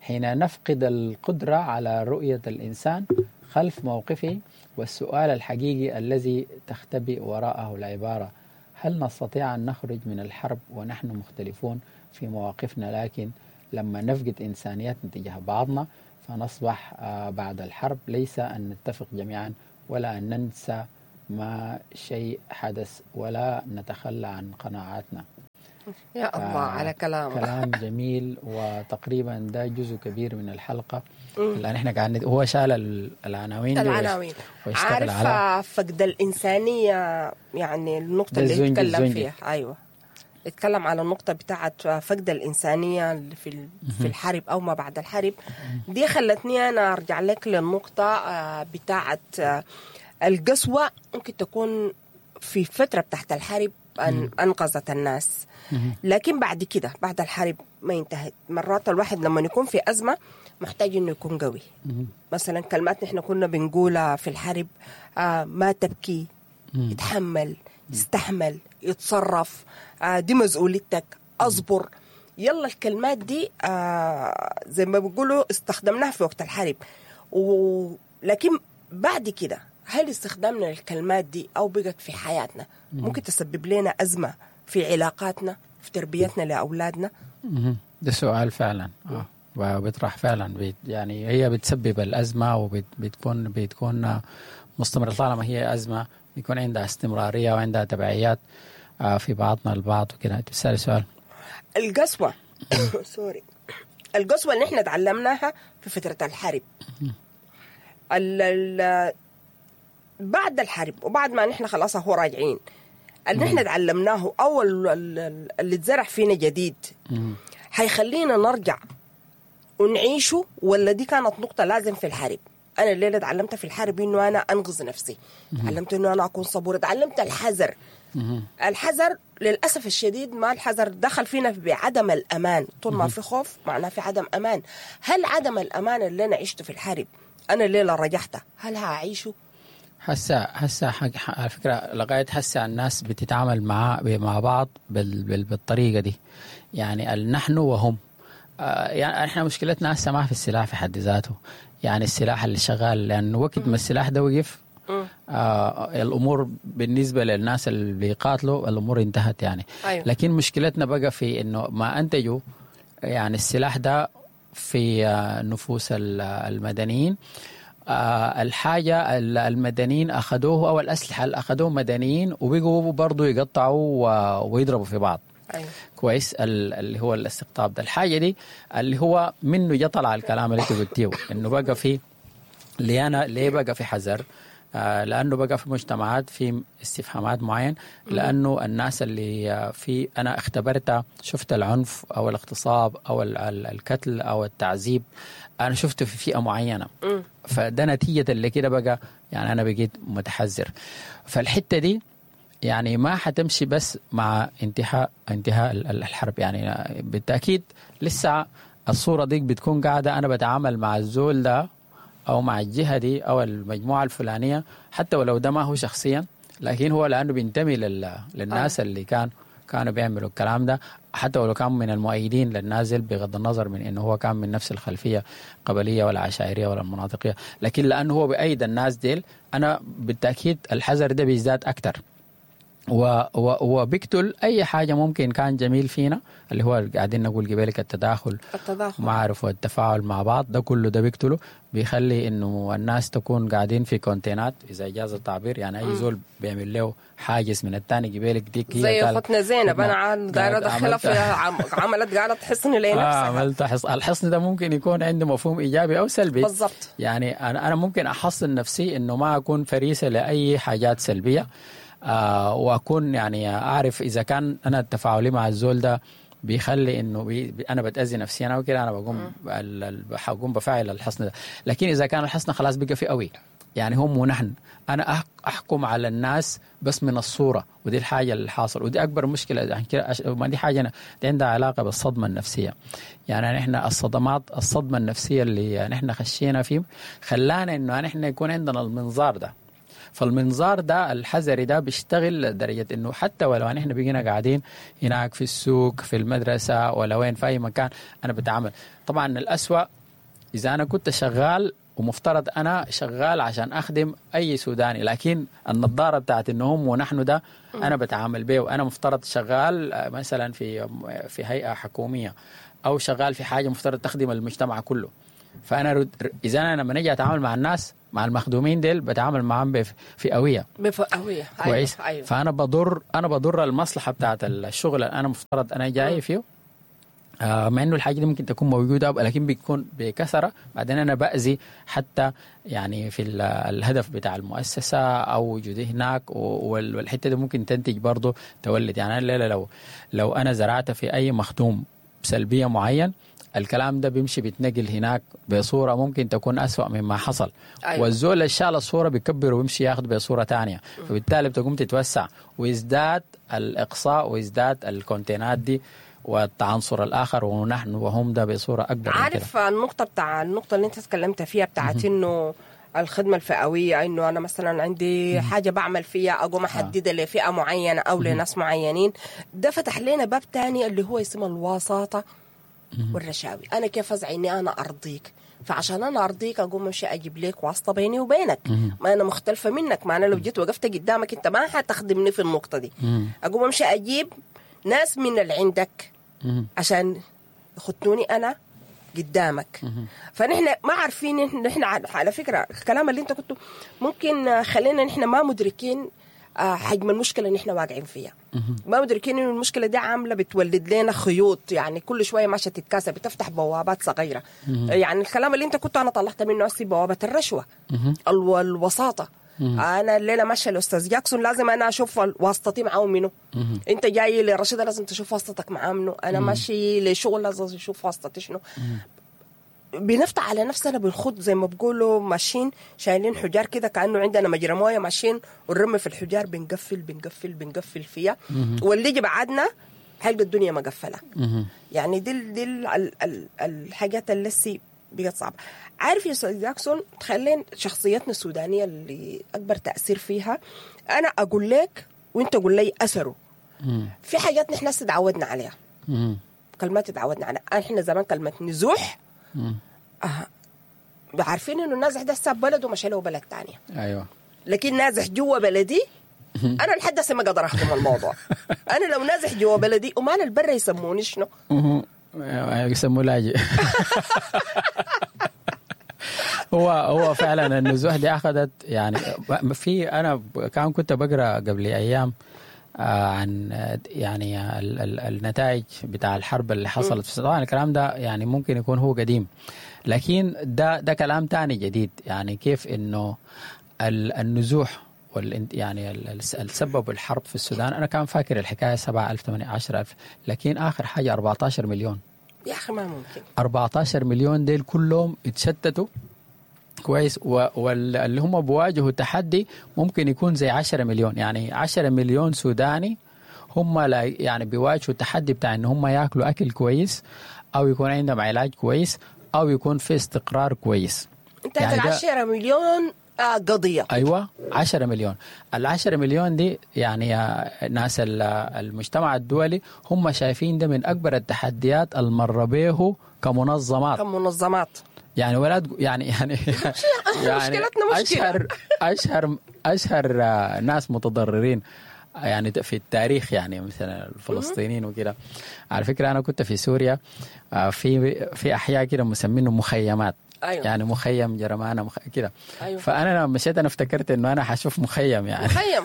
حين نفقد القدرة على رؤية الإنسان خلف موقفه والسؤال الحقيقي الذي تختبئ وراءه العبارة: هل نستطيع أن نخرج من الحرب ونحن مختلفون في مواقفنا؟ لكن لما نفقد إنسانيتنا تجاه بعضنا فنصبح بعد الحرب ليس أن نتفق جميعا ولا أن ننسى ما شيء حدث ولا نتخلى عن قناعاتنا. يا الله على كلام، كلام جميل، وتقريبا ده جزء كبير من الحلقة اللي احنا قاعدين. هو شال العناوين، العناوين، عارف، فقد الإنسانية، يعني النقطة اللي يتكلم فيها. أيوة، اتكلم على النقطة بتاعت فقد الإنسانية في الحرب أو ما بعد الحرب. دي خلتني أنا أرجع لك للنقطة بتاعت القسوة. ممكن تكون في فترة بتاعت الحرب أنقذت الناس، لكن بعد كده بعد الحرب ما انتهت. مرات الواحد لما يكون في أزمة محتاج إنه يكون قوي. مثلا كلمات نحن كنا بنقولها في الحرب، ما تبكي، اتحمل، استحمل، يتصرف، دي مسؤوليتك، أصبر. يلا الكلمات دي زي ما بيقولوا استخدمناها في وقت الحرب، ولكن بعد كده هل استخدامنا للكلمات دي أو بقت في حياتنا ممكن تسبب لنا أزمة في علاقاتنا، في تربيتنا لأولادنا؟ ده سؤال فعلا وبيطرح فعلا، يعني هي بتسبب الأزمة وبتكون بتكون مستمرة. طالما هي أزمة بيكون عندها استمرارية وعندها تبعيات في بعضنا البعض وكده. تسأل سؤال القسوة سوري، القسوة اللي احنا تعلمناها في فترة الحرب، بعد الحرب وبعد ما نحن خلاص هو راجعين، اللي نحن تعلمناه أو اللي اتزرع فينا جديد حيخلينا نرجع ونعيشه، ولا دي كانت نقطة لازم في الحرب؟ أنا الليلة تعلمت في الحرب إنه أنا أنقذ نفسي، تعلمت إنه أنا أكون صبورة، تعلمت الحذر. الحذر للأسف الشديد، ما الحذر دخل فينا بعدم الأمان. طول ما في خوف معناه في عدم أمان. هل عدم الأمان اللي أنا عشته في الحرب أنا الليلة رجعته هل هعيشه؟ هسه على فكرة لغاية هسه الناس بتتعامل مع بعض بالطريقة دي، يعني نحن وهم. يعني احنا مشكلتنا هسه ما في السلاح في حد ذاته، يعني السلاح اللي شغال، لأن وقت ما السلاح ده وقف الأمور بالنسبة للناس اللي بيقاتلوا الأمور انتهت يعني. أيوة. لكن مشكلتنا بقى في إنه ما أنتجوا يعني السلاح ده في نفوس المدنيين. الحاجة المدنيين أخذوه أو الأسلحة اللي أخذوه مدنيين وبقوا برضو يقطعوا ويضربوا في بعض. أيوة. كويس، اللي هو الاستقطاب ده، الحاجة دي اللي هو منه جطل على الكلام اللي قلتيه إنه بقى في ليه بقى في حذر، لأنه بقى في مجتمعات في استفهامات معين، لأنه الناس اللي في أنا اختبرتها، شفت العنف أو الاغتصاب أو القتل أو التعذيب، أنا شفته في فئة معينة، فده نتيجة اللي كده بقى يعني أنا بقيت متحذر. فالحتة دي يعني ما حتمشي بس مع انتهاء الحرب، يعني بالتأكيد لسه الصورة دي بتكون قاعدة، أنا بتعامل مع الزول ده أو مع الجهة دي أو المجموعة الفلانية، حتى ولو ده ما هو شخصيا، لكن هو لأنه بينتمي للناس اللي كانوا بيعملوا الكلام ده، حتى ولو كان من المؤيدين للنازل، بغض النظر من إنه هو كان من نفس الخلفية القبلية ولا عشائرية ولا المناطقية، لكن لأنه هو بأيد الناس ديل، أنا بالتأكيد الحذر ده بيزداد أكتر وبيقتل أي حاجة ممكن كان جميل فينا، اللي هو قاعدين نقول قبلك التداخل معرف والتفاعل مع بعض، ده كله ده بيقتله، بيخلي إنه الناس تكون قاعدين في كونتينات إذا جاز التعبير، يعني أي زول بيعمل له حاجز من الثاني قبلك ديك زي أختنا زينب، أنا دايرة أدخلها في عملت قالت حصن لنفسها، عملت حصن. الحصن ده ممكن يكون عنده مفهوم إيجابي أو سلبي بالضبط، يعني أنا ممكن أحصن نفسي إنه ما أكون فريسة لأي حاجات سلبية، واكون يعني اعرف اذا كان انا تفاعلي مع الزول ده بيخلي انه انا بتاذي نفسي انا وكده، انا بقوم بقوم بفعل الحصن ده. لكن اذا كان الحصن خلاص بقى فئوي، يعني هم ونحن، انا احكم على الناس بس من الصورة، ودي الحاجة اللي حاصل، ودي اكبر مشكلة. يعني كده ما دي حاجة دي عندها علاقة بالصدمة النفسية. يعني نحن الصدمات، الصدمة النفسية اللي نحن خشينا فيه خلانا انه نحن يكون عندنا المنظار ده. فالمنظار ده الحذري ده بيشتغل لدرجة انه حتى ولو نحن بقينا قاعدين هناك في السوق، في المدرسة، ولا وين في اي مكان انا بتعامل. طبعا الأسوأ اذا انا كنت شغال ومفترض انا شغال عشان اخدم اي سوداني، لكن النظارة بتاعت انه هم ونحن ده انا بتعامل به، وانا مفترض شغال مثلا في هيئة حكومية او شغال في حاجة مفترض تخدم المجتمع كله. فانا اذا انا لما نجي اتعامل مع الناس، مع المخدومين ديل، بتعامل معاهم بفئويه. بفئويه. كويس. أيوة. فانا بضر المصلحة بتاعت الشغل اللي انا مفترض انا جاي فيه، مع انه الحاجة دي ممكن تكون موجودة لكن بيكون بكثرة. بعدين انا باذي حتى يعني في الهدف بتاع المؤسسة او وجودي هناك، والحتة دي ممكن تنتج برضه تولد. يعني انا الليلة لو انا زرعت في اي مخدوم سلبية معين، الكلام ده بيمشي بيتنقل هناك بصورة ممكن تكون أسوأ مما حصل. أيوة. والزول اللي شال الصورة بيكبر ويمشي ياخذ بصورة تانية، فبالتالي بتقوم تتوسع ويزداد الإقصاء ويزداد الكونتينات دي والتعنصر الآخر ونحن وهم ده بصورة أكبر. عارف النقطة بتاع النقطة اللي أنت تكلمت فيها بتاعت إنه الخدمة الفئوية، إنه أنا مثلا عندي حاجة بعمل فيها أقوم أحددها لفئة معينة أو لناس معينين، ده فتح لنا باب تاني اللي هو اسمه الوساطة والرشاوي. أنا كيف أزعي إني أنا أرضيك، فعشان أنا أرضيك أقوم أمشي أجيب لك واسطة بيني وبينك، ما أنا مختلفة منك، ما أنا لو جيت وقفت قدامك أنت ما حتخدمني في النقطة دي. أقوم أمشي أجيب ناس من اللي عندك عشان يخطوني أنا قدامك. فنحن ما عارفين، نحن على فكرة الكلام اللي أنت كنت ممكن خلينا نحن ما مدركين حجم المشكلة اللي نحن واقعين فيها، ما مدركين إنه المشكلة دي عاملة بتولد لنا خيوط، يعني كل شوية ماشية تتكاسى، بتفتح بوابات صغيرة. يعني الكلام اللي أنت كنت أنا طلعت منه هسي بوابة الرشوة، الوساطة. أنا الليلة ماشية الأستاذ جاكسون لازم أنا أشوف واسطتي معاه منه، أنت جاي لرشيدة لازم تشوف واسطتك معاه منه، أنا ماشي لشغل لازم أشوف واسطتي شنو. بنفتح على نفسنا، بنخوض زي ما بقولوا ماشيين شايلين حجار كده كأنه عندنا مجرى مويه، ماشيين ونرمي في الحجار، بنقفل بنقفل بنقفل فيها، واللي يجي بعدنا حلقة الدنيا مقفلة. يعني دي الحاجات اللي لسه بقت صعبة. عارف يا أستاذ جاكسون، تخلين شخصيتنا السودانية اللي أكبر تأثير فيها، أنا أقول لك وأنت قول لي أثره. في حاجات نحن هسه تعودنا عليها، كلمات تعودنا عليها. احنا زمان كلمة نزوح عارفين انه النازح ده ساب بلده ومشى له بلد تانية. ايوه. لكن نازح جوا بلدي انا لحد هسه ما قادر اهضم الموضوع. انا لو نازح جوا بلدي وما البرة يسموني شنو؟ يسموه لاجئ. هو فعلا النزوح دي اخذت يعني في، انا كان كنت بقرا قبل ايام عن يعني النتائج بتاع الحرب اللي حصلت. طبعا الكلام ده يعني ممكن يكون هو قديم، لكن ده كلام تاني جديد. يعني كيف انه النزوح يعني السبب الحرب في السودان، انا كان فاكر الحكاية 7000 18000، لكن اخر حاجة 14 مليون. يا اخي ما ممكن 14 مليون ديل كلهم اتشتتوا. كويس. واللي هم بواجهوا تحدي ممكن يكون زي 10 مليون، يعني 10 مليون سوداني هم لا يعني بيواجهوا التحدي بتاع ان هم ياكلوا اكل كويس، او يكون عندهم علاج كويس، او يكون في استقرار كويس. انت يعني 10 مليون قضية. ايوه 10 مليون. ال10 مليون دي يعني ناس المجتمع الدولي هم شايفين ده من اكبر التحديات المر به كمنظمات. يعني ولا يعني يعني مشكلتنا مشكلة. اشهر ناس متضررين يعني في التاريخ، يعني مثلا الفلسطينيين وكده. على فكرة انا كنت في سوريا في احياء كده مسمينه مخيمات. أيوة. يعني مخيم جرمانة كده. أيوة. فأنا لما مشيت أنا افتكرت إنه أنا حشوف مخيم يعني مخيم.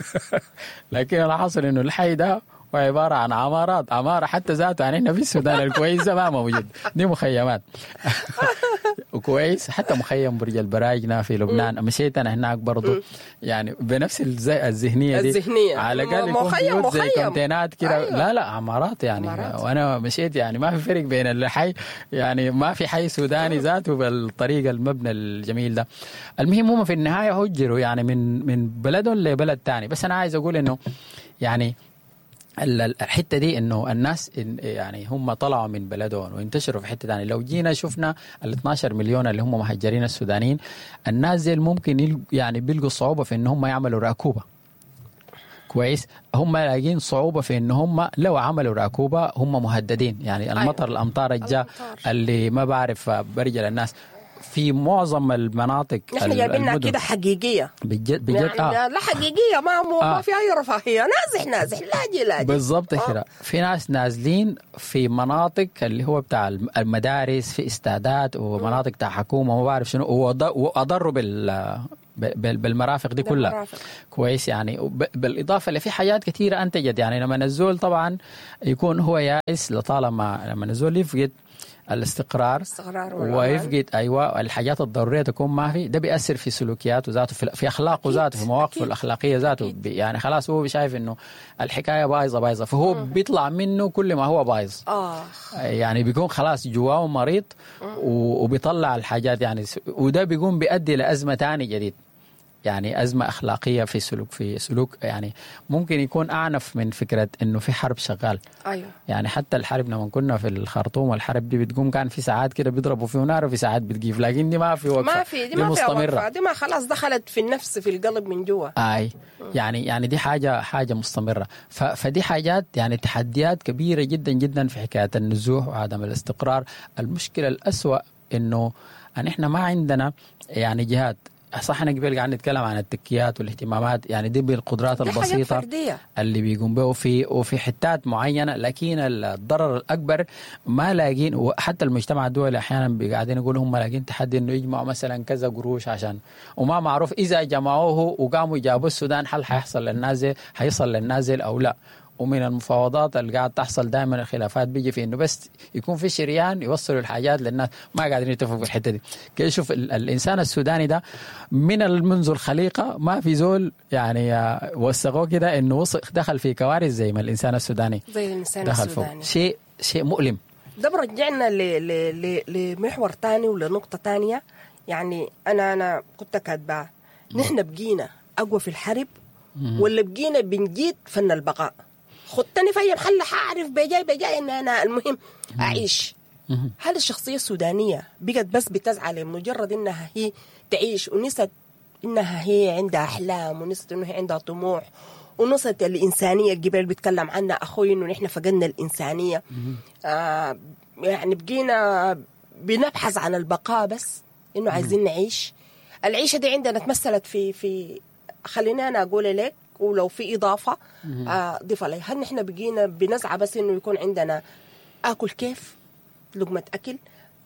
لكن اللي حصل إنه الحي ده وعبارة عن عمارات، عمارة حتى ذاته يعني إحنا في السودان الكويسة ما موجود، دي مخيمات. كويس. حتى مخيم برج البراجنة في لبنان مشيت انا هناك برضو، يعني بنفس الذهنية دي، الذهنية. على الاقل يكون مخيم بيوت زي مخيم. كونتينات كده. أيوة. لا لا عمارات يعني. عمارات. وانا مشيت يعني ما في فرق بين الحي، يعني ما في حي سوداني ذاته بالطريقة المبنى الجميل ده. المهم هم في النهاية هجروا يعني من بلدهم لبلد ثاني. بس انا عايز اقول انه يعني الحتة دي انه الناس يعني هم طلعوا من بلدهم وانتشروا في حتة ثانية. لو جينا شفنا ال 12 مليون اللي هم مهجرين السودانيين، الناس دي ممكن يعني بيلقوا صعوبة في ان هم يعملوا راكوبه. كويس، هم لاقين صعوبة في ان هم لو عملوا راكوبه هم مهددين، يعني المطر، الامطار الجا اللي ما بعرف برجل الناس في معظم المناطق. نحن جايبينها كده حقيقية بجد بجد. يعني لا حقيقية، ما في اي رفاهية، نازح نازح لاجي لاجي بالضبط كده. في ناس نازلين في مناطق اللي هو بتاع المدارس، في استادات ومناطق بتاع حكومة وما بعرف شنو، واضروا بالمرافق دي كلها. المرافق. كويس، يعني بالاضافة لفي حاجات كثيرة انتجت. يعني لما الزول طبعا يكون هو يائس، لطالما لما الزول يفقد الاستقرار ويفقد ايوه الحاجات الضرورية تكون ما في، ده بيأثر في سلوكياته ذاته، في اخلاقه ذاته، في مواقفه الاخلاقية ذاته. يعني خلاص هو شايف انه الحكاية بايظة بايظة، فهو بيطلع منه كل ما هو بايظ. يعني بيكون خلاص جواه مريض وبيطلع الحاجات يعني، وده بيقوم بيؤدي لازمه ثاني جديد، يعني أزمة أخلاقية في سلوك يعني ممكن يكون أعنف من فكرة إنه في حرب شغال. أيوة. يعني حتى الحرب لما كنا في الخرطوم والحرب دي بتقوم، كان في ساعات كده بيضربوا فيه نار وفي ساعات بتقيف، لكن دي ما في وقفة، ما في دي ما مستمرة، وقفة. دي ما خلاص دخلت في النفس، في القلب من جوا. أي يعني دي حاجة مستمرة. فدي حاجات يعني تحديات كبيرة جدا جدا في حكاية النزوح وعدم الاستقرار. المشكلة الأسوأ إنه أن إحنا ما عندنا يعني جهات صح. احنا قبل قاعد نتكلم عن التكيات والاهتمامات، يعني دي بالقدرات البسيطة اللي بيقوم به وفي حتات معينة، لكن الضرر الاكبر ما لاقين. وحتى المجتمع الدولي احيانا قاعدين يقولوا هم لاقين تحدي انه يجمعوا مثلا كذا قروش عشان، وما معروف اذا جمعوه وقاموا جابوا السودان هل حيحصل للنازل، حيصل للنازل او لا. ومن المفاوضات اللي قاعد تحصل دائما الخلافات بيجي في انه بس يكون في شريان يوصلوا الحاجات للناس، ما قاعدين يتفقوا في الحتة دي. كي شوف الانسان السوداني ده من منذ الخليقة ما في زول يعني وثقوه كده انه دخل في كوارث زي ما الانسان السوداني دخل فوق. شيء مؤلم. ده برجعنا لمحور ثاني ولنقطه ثانية. يعني انا كنت كاتبه نحن بقينا اقوى في الحرب ولا بقينا بنجيد فن البقاء؟ خدتني في اي محل حاعرف بجاي ان انا المهم اعيش. هل الشخصية السودانية بقت بس بتسعى لمجرد انها هي تعيش، ونست انها هي عندها احلام، ونست انه هي عندها طموح، ونست الانسانية الجبال بيتكلم عنها اخوي انه نحن فقدنا الانسانية. يعني بقينا بنبحث عن البقاء بس، انه عايزين نعيش. العيشة دي عندنا تمثلت في خلينا انا اقول لك، ولو في إضافة ضيف عليها. هل نحن بقينا بنسعى بس إنه يكون عندنا آكل كيف، لقمة أكل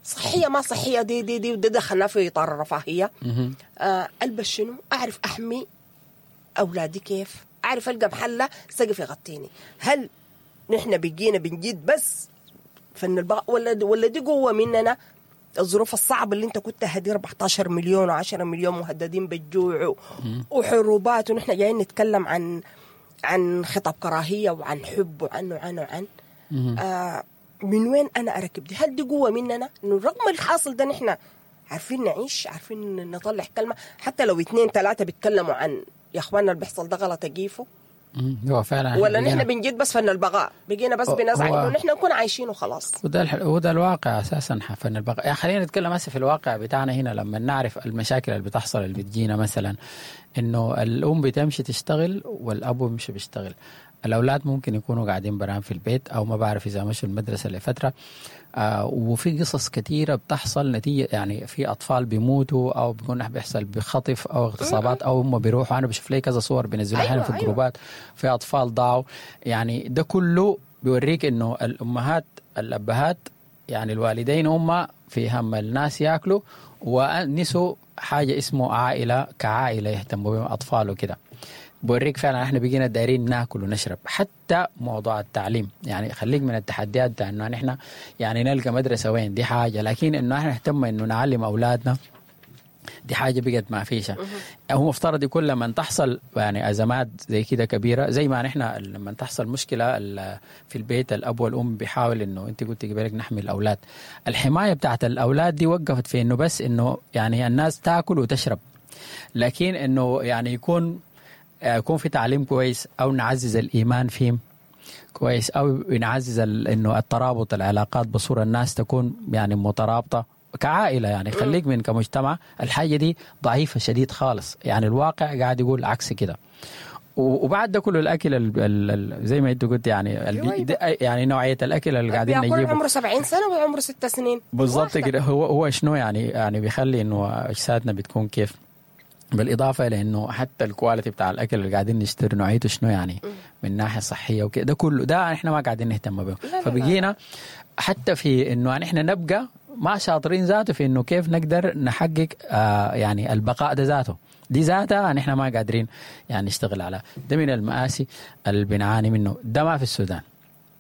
صحية ما صحية، دي دي دي, دي دخلنا في إطار الرفاهية. ألبس شنو، أعرف أحمي أولادي كيف، أعرف ألقى محلة سقف يغطيني. هل نحن بقينا بنجيد بس فن البقاء ولا دي قوة مننا؟ الظروف الصعبة اللي انت كنت هدي 14 مليون و10 مليون مهددين بالجوع وحروبات، ونحن جايين نتكلم عن خطاب كراهية وعن حب وعن وعن وعن من وين أنا أركب دي؟ هل دي قوة مننا؟ إنه رغم الحاصل ده نحن عارفين نعيش، عارفين نطلع كلمة، حتى لو 2 3 بيتكلموا عن يا اخوانا اللي بيحصل ده غلط اجيفه. هو فعلا ولا نحن بنجد بس فن البقاء، بقينا بس بنزعل انه نحن نكون عايشين وخلاص. وده الواقع اساسا، فن البقاء. يعني خلينا نتكلم هسه في الواقع بتاعنا هنا، لما نعرف المشاكل اللي بتحصل اللي بتجينا، مثلا انه الام بتمشي تشتغل والاب بيمشي بيشتغل، الاولاد ممكن يكونوا قاعدين برام في البيت او ما بعرف اذا مشوا المدرسة لفترة. وفي قصص كثيرة بتحصل نتيجة، يعني في اطفال بيموتوا او بيكون بيحصل بخطف او اغتصابات او هم بيروحوا. انا بشوف لي كذا صور بينزلوها احيانا في الجروبات، في اطفال ضاعوا. يعني ده كله بيوريك انه الامهات الابهات يعني الوالدين هم في هم الناس ياكلوا، ونسوا حاجة اسمه عائلة كعائله يهتموا بهم اطفال وكده. بوريك فعلا احنا بقينا دايرين ناكل ونشرب. حتى موضوع التعليم يعني خليك من التحديات بتاع انه نحن يعني نلقى مدرسه وين، دي حاجة، لكن انه احنا نهتم انه نعلم اولادنا دي حاجة بقت ما فيش. هو مفترض يكون لما تحصل يعني ازمات زي كده كبيرة، زي ما نحن لما تحصل مشكلة في البيت الاب والام بيحاول انه انت قلت قبلك نحمي الاولاد. الحماية بتاعت الاولاد دي وقفت في انه بس انه يعني الناس تاكل وتشرب، لكن انه يعني يكون في تعليم كويس، او نعزز الايمان فيهم كويس، او نعزز انه الترابط العلاقات بصورة الناس تكون يعني مترابطة كعائله، يعني خليك من كمجتمع. الحاجة دي ضعيفة شديد خالص، يعني الواقع قاعد يقول عكس كده. وبعد ده كله الاكل ال زي ما انت قلت يعني يعني نوعية الاكل اللي قاعدين نجيبه عمره 70 سنة وعمره 6 سنين بالضبط كده. هو شنو يعني بيخلي انه اجسادنا بتكون كيف، بالاضافة الى انه حتى ال quality بتاع الاكل اللي قاعدين نشتري نوعيته شنو يعني من ناحية صحية وكده، ده كله ده احنا ما قاعدين نهتم به. فبقينا حتى في انه احنا نبقى ما شاطرين ذاته في انه كيف نقدر نحقق يعني البقاء ده ذاته، دي ذاتها نحن ما قادرين يعني نشتغل على ده. من المآسي اللي بنعاني منه ده ما في السودان،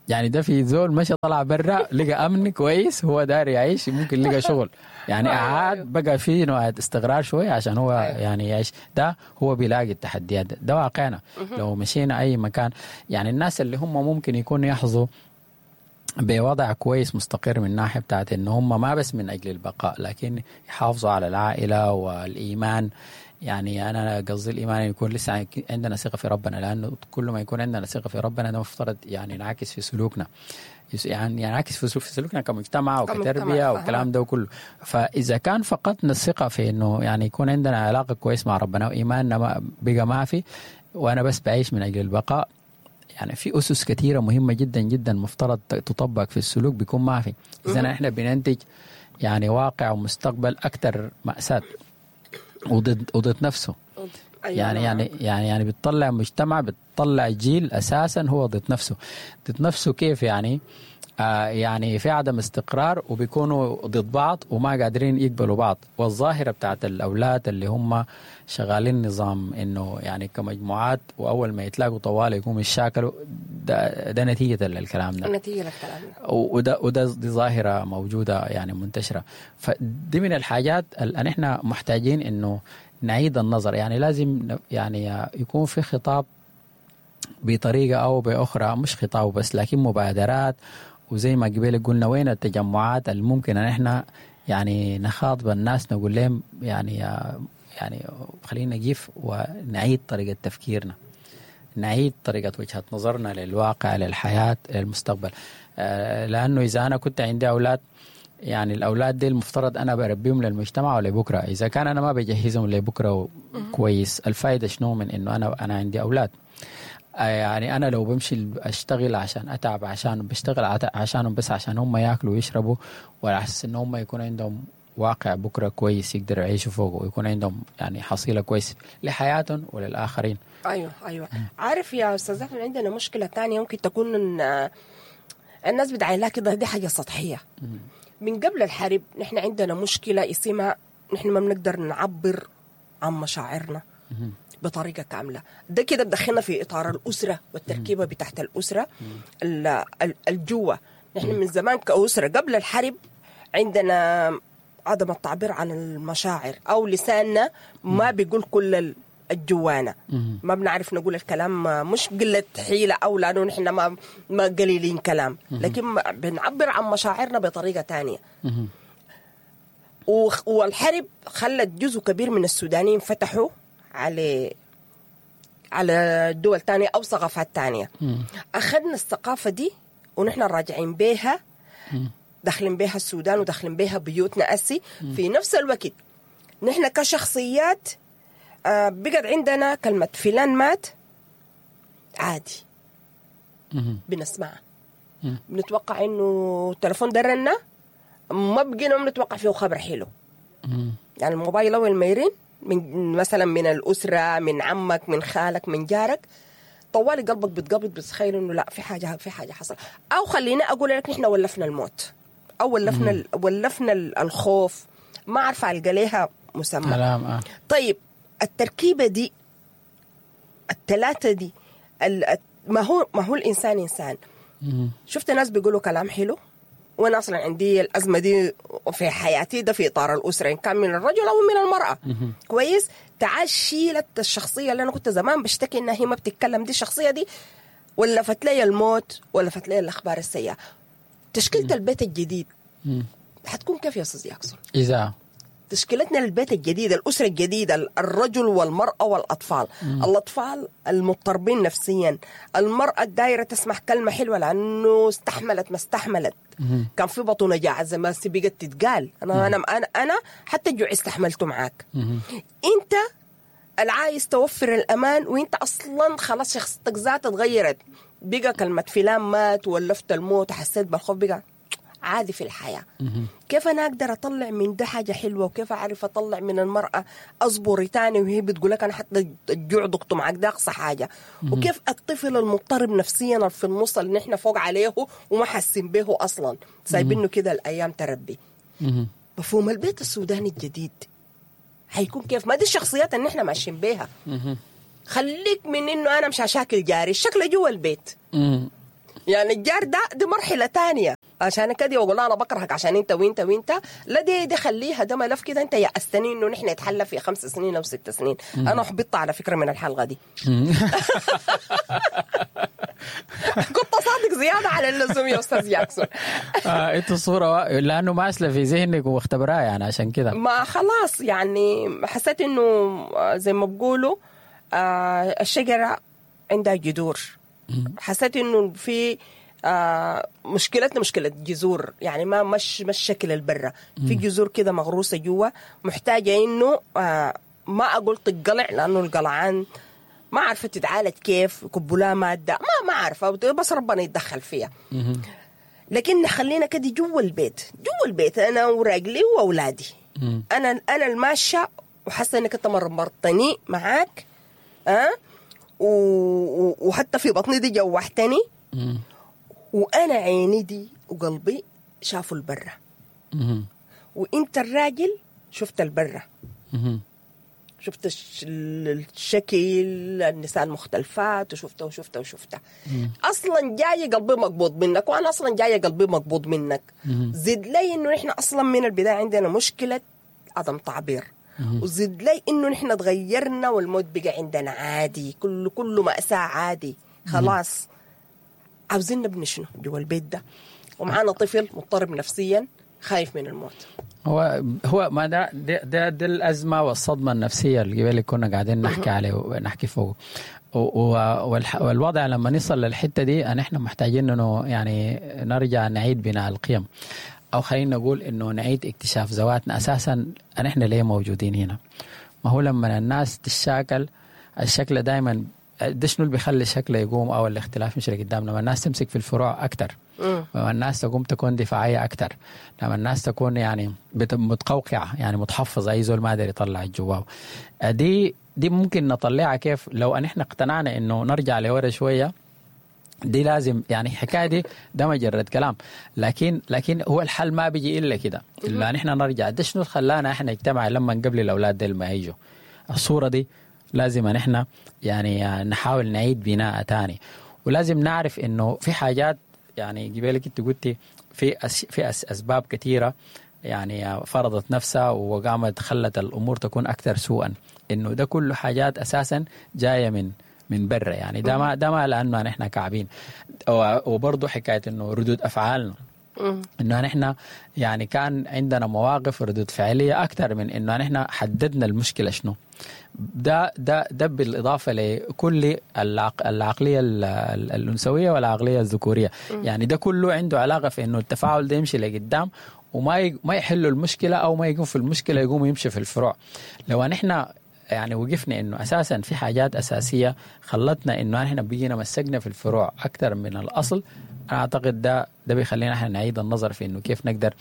يعني ده في زول مشى طلع برا لقى امن كويس، هو داير يعيش، ممكن لقى شغل يعني قعد بقى في نوع استقرار شوية عشان هو يعني يعيش، ده هو بيلاقي التحديات. ده واقعنا. لو مشينا اي مكان يعني الناس اللي هم ممكن يكونوا يحظوا بوضع كويس مستقر من ناحية بتاعت ان هم ما بس من اجل البقاء، لكن يحافظوا على العائلة والايمان. يعني انا قصدي الايمان يكون لسه عندنا ثقة في ربنا، لانه كل ما يكون عندنا ثقة في ربنا ده مفترض يعني ينعكس في سلوكنا، يعني ينعكس في سلوكنا كمجتمع وكتربيه والكلام ده كله. فاذا كان فقدنا الثقة في انه يعني يكون عندنا علاقة كويس مع ربنا وايماننا بقى ما في، وانا بس بعيش من اجل البقاء، يعني في اسس كثيرة مهمة جدا جدا مفترض تطبق في السلوك بيكون ما في. اذا احنا بننتج يعني واقع ومستقبل اكثر ماساة وضد نفسه. يعني بتطلع مجتمع، بتطلع جيل اساسا هو ضد نفسه. ضد نفسه كيف يعني؟ يعني في عدم استقرار وبيكونوا ضد بعض وما قادرين يقبلوا بعض. والظاهرة بتاعت الأولاد اللي هم شغالين نظام إنه يعني كمجموعات، وأول ما يتلاقوا طوال يقوموا يشاكلوا، ده نتيجة للكلام ده، نتيجة للكلام ده. وده دي ظاهرة موجودة يعني منتشرة. فدي من الحاجات اللي احنا محتاجين إنه نعيد النظر، يعني لازم يعني يكون في خطاب بطريقة أو بأخرى، مش خطاب بس لكن مبادرات. وزي ما قبل قلنا وين التجمعات اللي ممكن ان احنا يعني نخاطب الناس نقول لهم يعني خلينا نقف ونعيد طريقة تفكيرنا، نعيد طريقة وجهة نظرنا للواقع، للحياة، للمستقبل. لأنه إذا أنا كنت عندي أولاد، يعني الأولاد دي المفترض أنا بربيهم للمجتمع ولبكرة، إذا كان أنا ما بجهزهم لبكرة كويس، الفائدة شنو من إنه أنا عندي أولاد؟ يعني أنا لو بمشي أشتغل عشان أتعب عشان بشتغل عشانهم بس عشان هم ياكلوا ويشربوا، ولا أحس إن هم يكون عندهم واقع بكرة كويس يقدروا يعيشوا فوقه ويكون عندهم يعني حصيلة كويس لحياتهم وللآخرين. ايوه، عارف يا استاذ احمد، عندنا مشكلة تانية ممكن تكون إن الناس بتعاين لها كده دي حاجة سطحية. من قبل الحرب نحن عندنا مشكلة اسمها نحن ما بنقدر نعبر عن مشاعرنا بطريقة كاملة. ده كده بدخلنا في اطار الاسرة والتركيبه بتاعت الاسرة الجوه. نحن من زمان كاسره قبل الحرب عندنا عدم التعبير عن المشاعر، او لساننا ما بيقول كل الجوانا، ما بنعرف نقول الكلام، مش قلة حيلة أو لأنه نحن ما قليلين كلام، لكن بنعبر عن مشاعرنا بطريقة تانية. والحرب خلت جزء كبير من السودانيين فتحوا على دول تانية أو ثقافات تانية. أخذنا الثقافة دي ونحن راجعين بيها، داخلين بيها السودان وداخلين بيها بيوتنا أسي. في نفس الوقت نحن كشخصيات بقت عندنا كلمة فلان مات عادي بنسمعها، بنتوقع انه التليفون ده رنة ما بقينا بنتوقع فيه خبر حلو. يعني الموبايل اول ما يرن من مثلا من الاسرة، من عمك، من خالك، من جارك، طوالي قلبك بتقبض، بتتخيل انه لا في حاجة، في حاجة حصل. او خلينا اقول لك نحن ولفنا الموت او ولفنا الخوف، ما عارفه القى ليها مسمى. كلام. طيب التركيبة دي الثلاثة دي ما هو الانسان انسان. شفت ناس بيقولوا كلام حلو، وانا اصلا عندي الازمة دي في حياتي، ده في اطار الاسرة ان كان من الرجل او من المراة. كويس، تعال شيلت الشخصية اللي انا كنت زمان بشتكي انها هي ما بتتكلم، دي الشخصية دي ولفت لي الموت، ولفت لي الاخبار السيئة. تشكيله البيت الجديد حتكون كيف يا استاذ ياكسون؟ اذا تشكيلتنا للبيت الجديد، الأسرة الجديدة، الرجل والمرأة والأطفال. الأطفال المضطربين نفسيا، المرأة الدايرة تسمع كلمة حلوة لأنه استحملت ما استحملت. كان في بطن جاعة زي ما بقت تتقال، أنا أنا أنا أنا حتى الجوع استحملته معاك. أنت العايز توفر الأمان، وأنت أصلا خلاص شخصيتك ذاتها اتغيرت، بقى كلمة فلان مات ولفت الموت وحسيت بالخوف بقى عادي في الحياة. كيف أنا أقدر أطلع من ده حاجة حلوة؟ وكيف أعرف أطلع من المرأة أصبري تاني وهي بتقول لك أنا حتى الجوع ضغطه معك، ده أقصى حاجة. وكيف الطفل المضطرب نفسيا في النص اللي نحن فوق عليه وما حاسين به أصلا، سايبينه كده الأيام تربي. مفهوم البيت السوداني الجديد حيكون كيف؟ ما دي الشخصيات اللي نحن ماشيين بيها. خليك من إنه أنا مش هشاكل جاري، الشكل جوا البيت. يعني الجار ده دي مرحلة تانية، عشان كده واقول انا بكرهك عشان انت وانت وانت، لا دي خليها، ده ملف كده انت يأستني انه نحن نتحلى في 5 سنين او 6 سنين. انا احبطت على فكرة من الحلقة دي. كنت صادق زيادة على اللزوم يا استاذ ياكسون. انت الصورة لانه ماسله في ذهنك واختبرها يعني، عشان كده ما خلاص يعني حسيت انه زي ما بقولوا الشجرة عندها جذور. حسيت انه في مشكلتنا مشكلة جذور، يعني ما مش الشكل البرة، في جذور كده مغروسة جوا، محتاجة انه ما اقول تقلع، لانه القلعان ما عارفة تتعالج كيف، يكبوا لها مادة ما عارفة، بس ربنا يتدخل فيها. لكن خلينا كده جوا البيت، جوا البيت انا وراجلي واولادي. انا الماشية وحاسة انك انت مرمرتني معاك، وحتى في بطني دي جوحتني، وانا عيني دي وقلبي شافوا البرة، وانت الراجل شفت البرة، شفت الشكل، النساء المختلفات، وشفته وشفته وشفته. اصلا جاي قلبي مقبوض منك، وانا اصلا جاي قلبي مقبوض منك. زد لي انه نحن اصلا من البداية عندنا مشكلة عدم تعبير، وزد لي انه نحن تغيرنا والموت بقى عندنا عادي، كله مأساة عادي خلاص. عاوزين نبني شنو جوا البيت ده ومعانا طفل مضطرب نفسيا خايف من الموت؟ هو ما ده ده, ده, ده الأزمة والصدمة النفسية اللي كنا قاعدين نحكي عليه ونحكي فوق، والوضع لما نصل للحتة دي نحن محتاجين انه يعني نرجع نعيد بناء القيم، أو خلينا نقول إنه نعيد اكتشاف ذواتنا أساساً. نحن ليه موجودين هنا؟ ما هو لما الناس تشاكل الشكل دائما ده شنو اللي بيخلي الشكل يقوم أو الاختلاف مش قدام؟ لما الناس تمسك في الفروع أكتر، لما الناس تقوم تكون دفاعية أكتر، لما الناس تكون يعني متقوقعة، يعني متحفظة، أي زول ما قادر يطلع جواه. دي ممكن نطلعها كيف؟ لو أن إحنا اقتنعنا إنه نرجع لورا شوية. دي لازم يعني الحكاية دي ده مجرد كلام، لكن هو الحل ما بيجي الا كده، الا نحن نرجع. ده شنو خلانا احنا نجتمع لما قبل الاولاد ديل ما يجوا؟ الصورة دي لازم نحن يعني نحاول نعيد بناء تاني، ولازم نعرف انه في حاجات يعني قبلك انت قلتي في اسباب كثيرة يعني فرضت نفسها وقامت خلت الامور تكون اكثر سوءا، انه ده كله حاجات اساسا جاية من برا يعني. ده ما لانه نحن كعبين، وبرضه حكاية انه ردود افعالنا، انه نحن يعني كان عندنا مواقف ردود فعليه اكثر من انه نحن حددنا المشكلة شنو. ده ده ده بالاضافة لكل العقلية الانثوية والعقلية الذكورية، يعني ده كله عنده علاقة في انه التفاعل ده يمشي لقدام وما ما يحلوا المشكلة، او ما يقوم في المشكلة يقوم يمشي في الفروع. لو نحن يعني وقفنا انه اساسا في حاجات اساسية خلتنا انه احنا بقينا مسكنا في الفروع اكثر من الاصل، انا اعتقد ده ده بيخلينا احنا نعيد النظر في انه كيف نقدر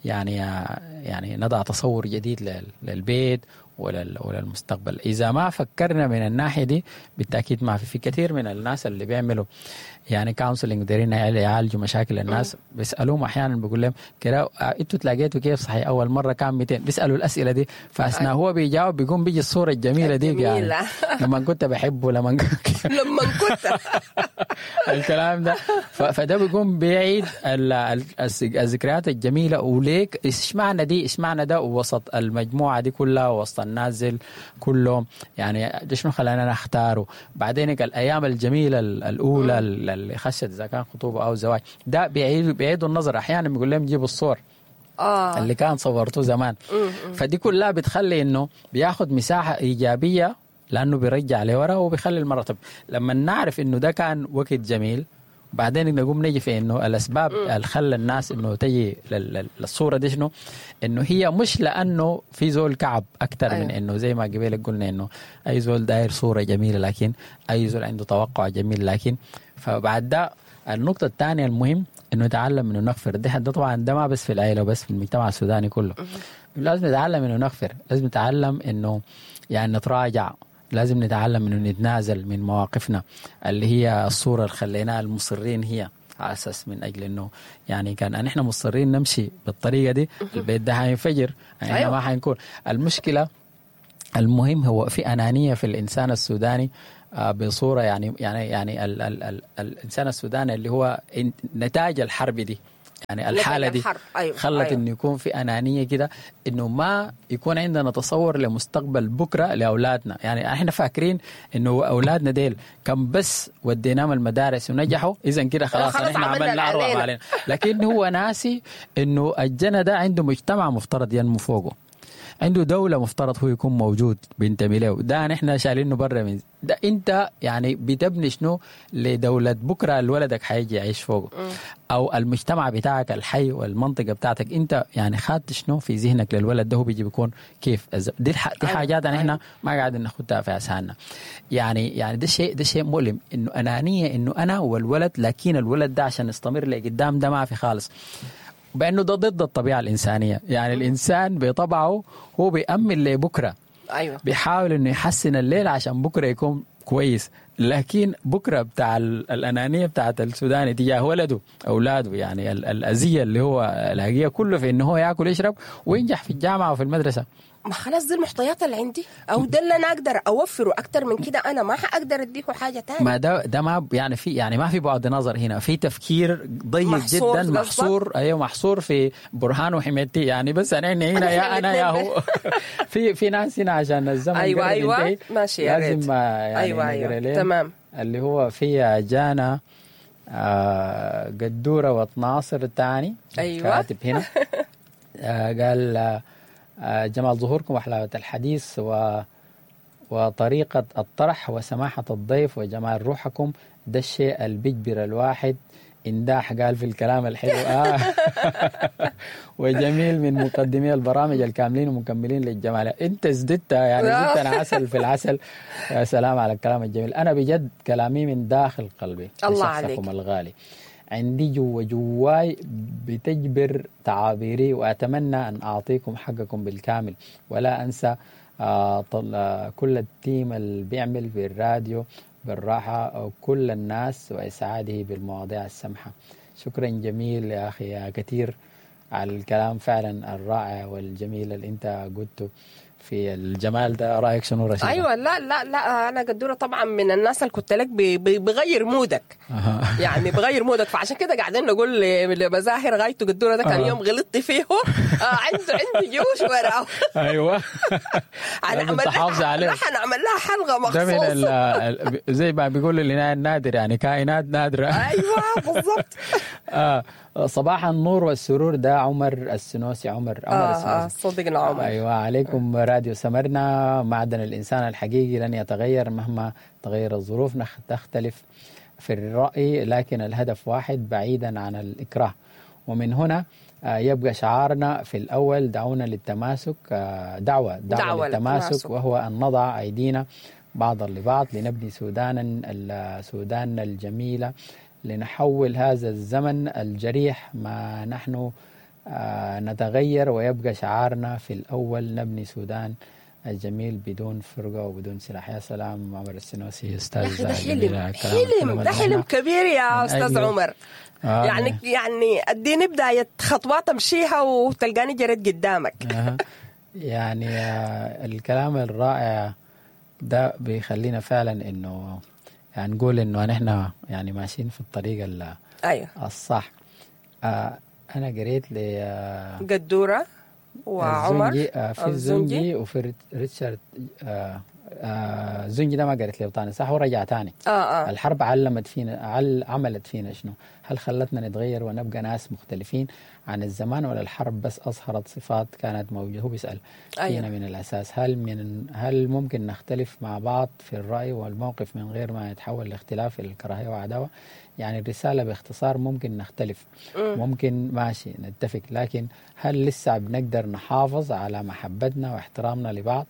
يعني نضع تصور جديد للبيت وللمستقبل. اذا ما فكرنا من الناحية دي بالتاكيد ما في كثير من الناس اللي بيعملوا يعني counseling دايرين يعالجوا مشاكل الناس، بيسالوهم احيانا بيقول لهم كده انتوا تلاقيتوا كيف صحيح اول مرة كان 200، بيسالوا الاسئلة دي، فاثناء هو بيجاوب بيقوم بيجي الصورة الجميلة دي يعني لما كنت بحبه لما كنت الكلام ده، فده بيقوم بيعيد الذكريات الجميلة. وليك ايش معنى دي، ايش معنى ده وسط المجموعة دي كلها وسط النازل كلهم، يعني ده شنو خلانا نختاره. بعدين الايام الجميلة الاولى اللي خشت اذا كان خطوبه او زواج، ده بيعيدوا النظر احيانا، بيقول لهم جيبوا الصور اللي كان صورته زمان. فدي كلها بتخلي انه بياخد مساحة ايجابية لانه بيرجع لورا وبيخلي المرتب. لما نعرف انه ده كان وقت جميل، بعدين نقوم نجي في انه الاسباب اللي خلى الناس انه تجي للصورة دي شنو، انه هي مش لانه في زول كعب اكثر. أيوة. من انه زي ما قبل قلنا انه اي زول داير صوره جميلة، لكن اي زول عنده توقع جميل، لكن فبعد ده النقطة الثانية المهم انه نتعلم انه نغفر. ده طبعا ده ما بس في العائلة وبس، في المجتمع السوداني كله لازم نتعلم انه نغفر، لازم نتعلم انه يعني نتراجع، لازم نتعلم انه نتنازل من مواقفنا اللي هي الصورة اللي خليناها المصرين هي على اساس من اجل انه يعني كان نحن مصرين نمشي بالطريقة دي البيت ده حينفجر، يعني أيوة. ما حينكون المشكلة. المهم هو في انانية في الانسان السوداني بصورة يعني يعني يعني ال ال ال الانسان السوداني اللي هو نتاج الحرب دي، يعني الحالة دي. أيوة. خلت أيوة. إنه يكون في أنانية كده، إنه ما يكون عندنا تصور لمستقبل بكرة لأولادنا. يعني إحنا فاكرين إنه أولادنا ديل كم بس وديناهم المدارس ونجحوا إذا كده خلاص إحنا عملنا أروع علينا، لكن هو ناسي إنه الجنة ده عنده مجتمع مفترض ينمو فوقه، عنده دولة مفترض هو يكون موجود بينتمي له، ده نحن شايلينه برا من ده. انت يعني بتبني شنو لدولة بكرة لولدك حيجي يعيش فوقه، او المجتمع بتاعك الحي والمنطقة بتاعتك، انت يعني خدت شنو في ذهنك للولد ده هو بيجي بيكون كيف. دي حاجات نحن ما قاعدين ناخدها في اذهاننا. يعني ده شيء مؤلم، انه انانية انه انا والولد، لكن الولد ده عشان يستمر لقدام ده ما في خالص، بأنه ده ضد الطبيعة الإنسانية. يعني الإنسان بطبعه هو بيأمن لبكرة، أيوة. بيحاول إنه يحسن الليل عشان بكرة يكون كويس، لكن بكرة بتاع الأنانية بتاعت السوداني تجاه ولده أولاده، يعني الأذية اللي هو لاقيها كله في إنه هو يأكل يشرب وينجح في الجامعة وفي المدرسة. ما خلاص دي المحتويات اللي عندي، او ده اللي انا اقدر اوفره، اكتر من كده انا ما حاقدر اديه حاجة ثانية. ما ده ما يعني في يعني ما في بعد نظر هنا، في تفكير ضيق محصور جدا، محصور. ايوه محصور في برهان وحميتي، يعني بس انا هنا يا انا يا هو. في ناس هنا عشان الزمن. ايوه ماشي، يا ريت لازم يعني ايوه تمام. اللي هو في جانا قدوره وتناصر الثاني. ايوه كاتب هنا قال جمال ظهوركم وحلاوة الحديث وطريقة الطرح وسماحة الضيف وجمال روحكم، ده الشيء اللي بيجبر الواحد انداح، قال في الكلام الحلو. وجميل من مقدمي البرامج الكاملين ومكملين للجمال. انت زدت يعني زدتنا عسل في العسل. يا سلام على الكلام الجميل. انا بجد كلامي من داخل قلبي الله عليك الغالي، عندي جواي بتجبر تعابيري، وأتمنى أن أعطيكم حقكم بالكامل، ولا أنسى كل التيم اللي بيعمل في الراديو بالراحة وكل الناس وإسعاده بالمواضيع السمحة. شكرا جميل يا أخي يا كثير على الكلام فعلا الرائع والجميل اللي أنت قلته في الجمال ده. رأيك شنو رشيدة؟ أيوة لا لا لا، أنا قدورة طبعا من الناس اللي كنت لك بغير مودك. يعني بغير مودك، فعشان كده قاعدين نقول لمزاهر غايته قدورة ده كان يوم غلطت فيه عنده جيوش وراه. أيوة راح نعمل لها حلقة مخصوص. ده من زي ما بيقولوا لنا النادر، يعني كائنات نادرة. أيوة بالضبط. صباح النور والسرور، ده عمر السنوسي. عمر السنوسي صديقنا عمر. أيوة عليكم راديو سمرنا. معدن الإنسان الحقيقي لن يتغير مهما تغير الظروف، تختلف في الرأي لكن الهدف واحد بعيدا عن الإكراه. ومن هنا يبقى شعارنا في الأول دعونا للتماسك، دعوة للتماسك، وهو أن نضع أيدينا بعضا لبعض لنبني سوداننا الجميلة لنحول هذا الزمن الجريح ما نحن نتغير، ويبقى شعارنا في الأول نبني سودان الجميل بدون فرقة وبدون سلاح. يا سلام عمر السنوسي أستاذ. يا أخي ده حلم، حلم، ده حلم كبير يا أستاذ عمر. يعني اديني بداية خطوات امشيها وتلقاني جريت قدامك. يعني الكلام الرائع ده بيخلينا فعلا انه يعني نقول انه نحن يعني ماشيين في الطريق الصح. انا قريت ل قدورة وعمر في الزنجي وفي ريتشارد. الزنجي ده ما قريت له تاني صح، ورجع تاني. الحرب علمت فينا، عملت فينا شنو؟ هل خلتنا نتغير ونبقى ناس مختلفين عن الزمان، ولا الحرب بس أظهرت صفات كانت موجودة؟ هو بيسأل فينا من الأساس، هل ممكن نختلف مع بعض في الرأي والموقف من غير ما يتحول لاختلاف الكراهية وعداوة؟ يعني الرسالة باختصار ممكن نختلف، ممكن ماشي نتفق، لكن هل لسه بنقدر نحافظ على محبتنا واحترامنا لبعض؟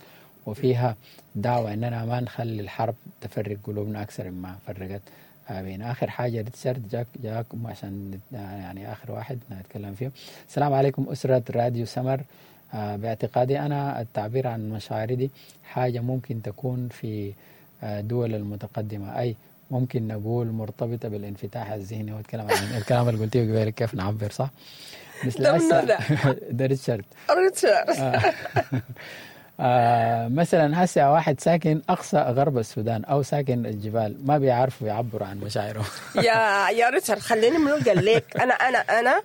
وفيها دعوة أننا ما نخلي الحرب تفرق قلوبنا أكثر مما فرقت بين. آخر حاجة ريتشارد جاكم عشان يعني آخر واحد نتكلم فيه. السلام عليكم أسرة راديو سمر. باعتقادي أنا التعبير عن مشاعري دي حاجة ممكن تكون في دول المتقدمة، أي ممكن نقول مرتبطة بالانفتاح الذهني. والكلام عن الكلام اللي قلتيه قبل كيف نعبر صح؟ مثل ده ريتشارد. مثلا هسه واحد ساكن اقصى غرب السودان او ساكن الجبال ما بيعرفوا يعبروا عن مشاعرهم. يا ريتشارد خليني منو قال لك انا انا انا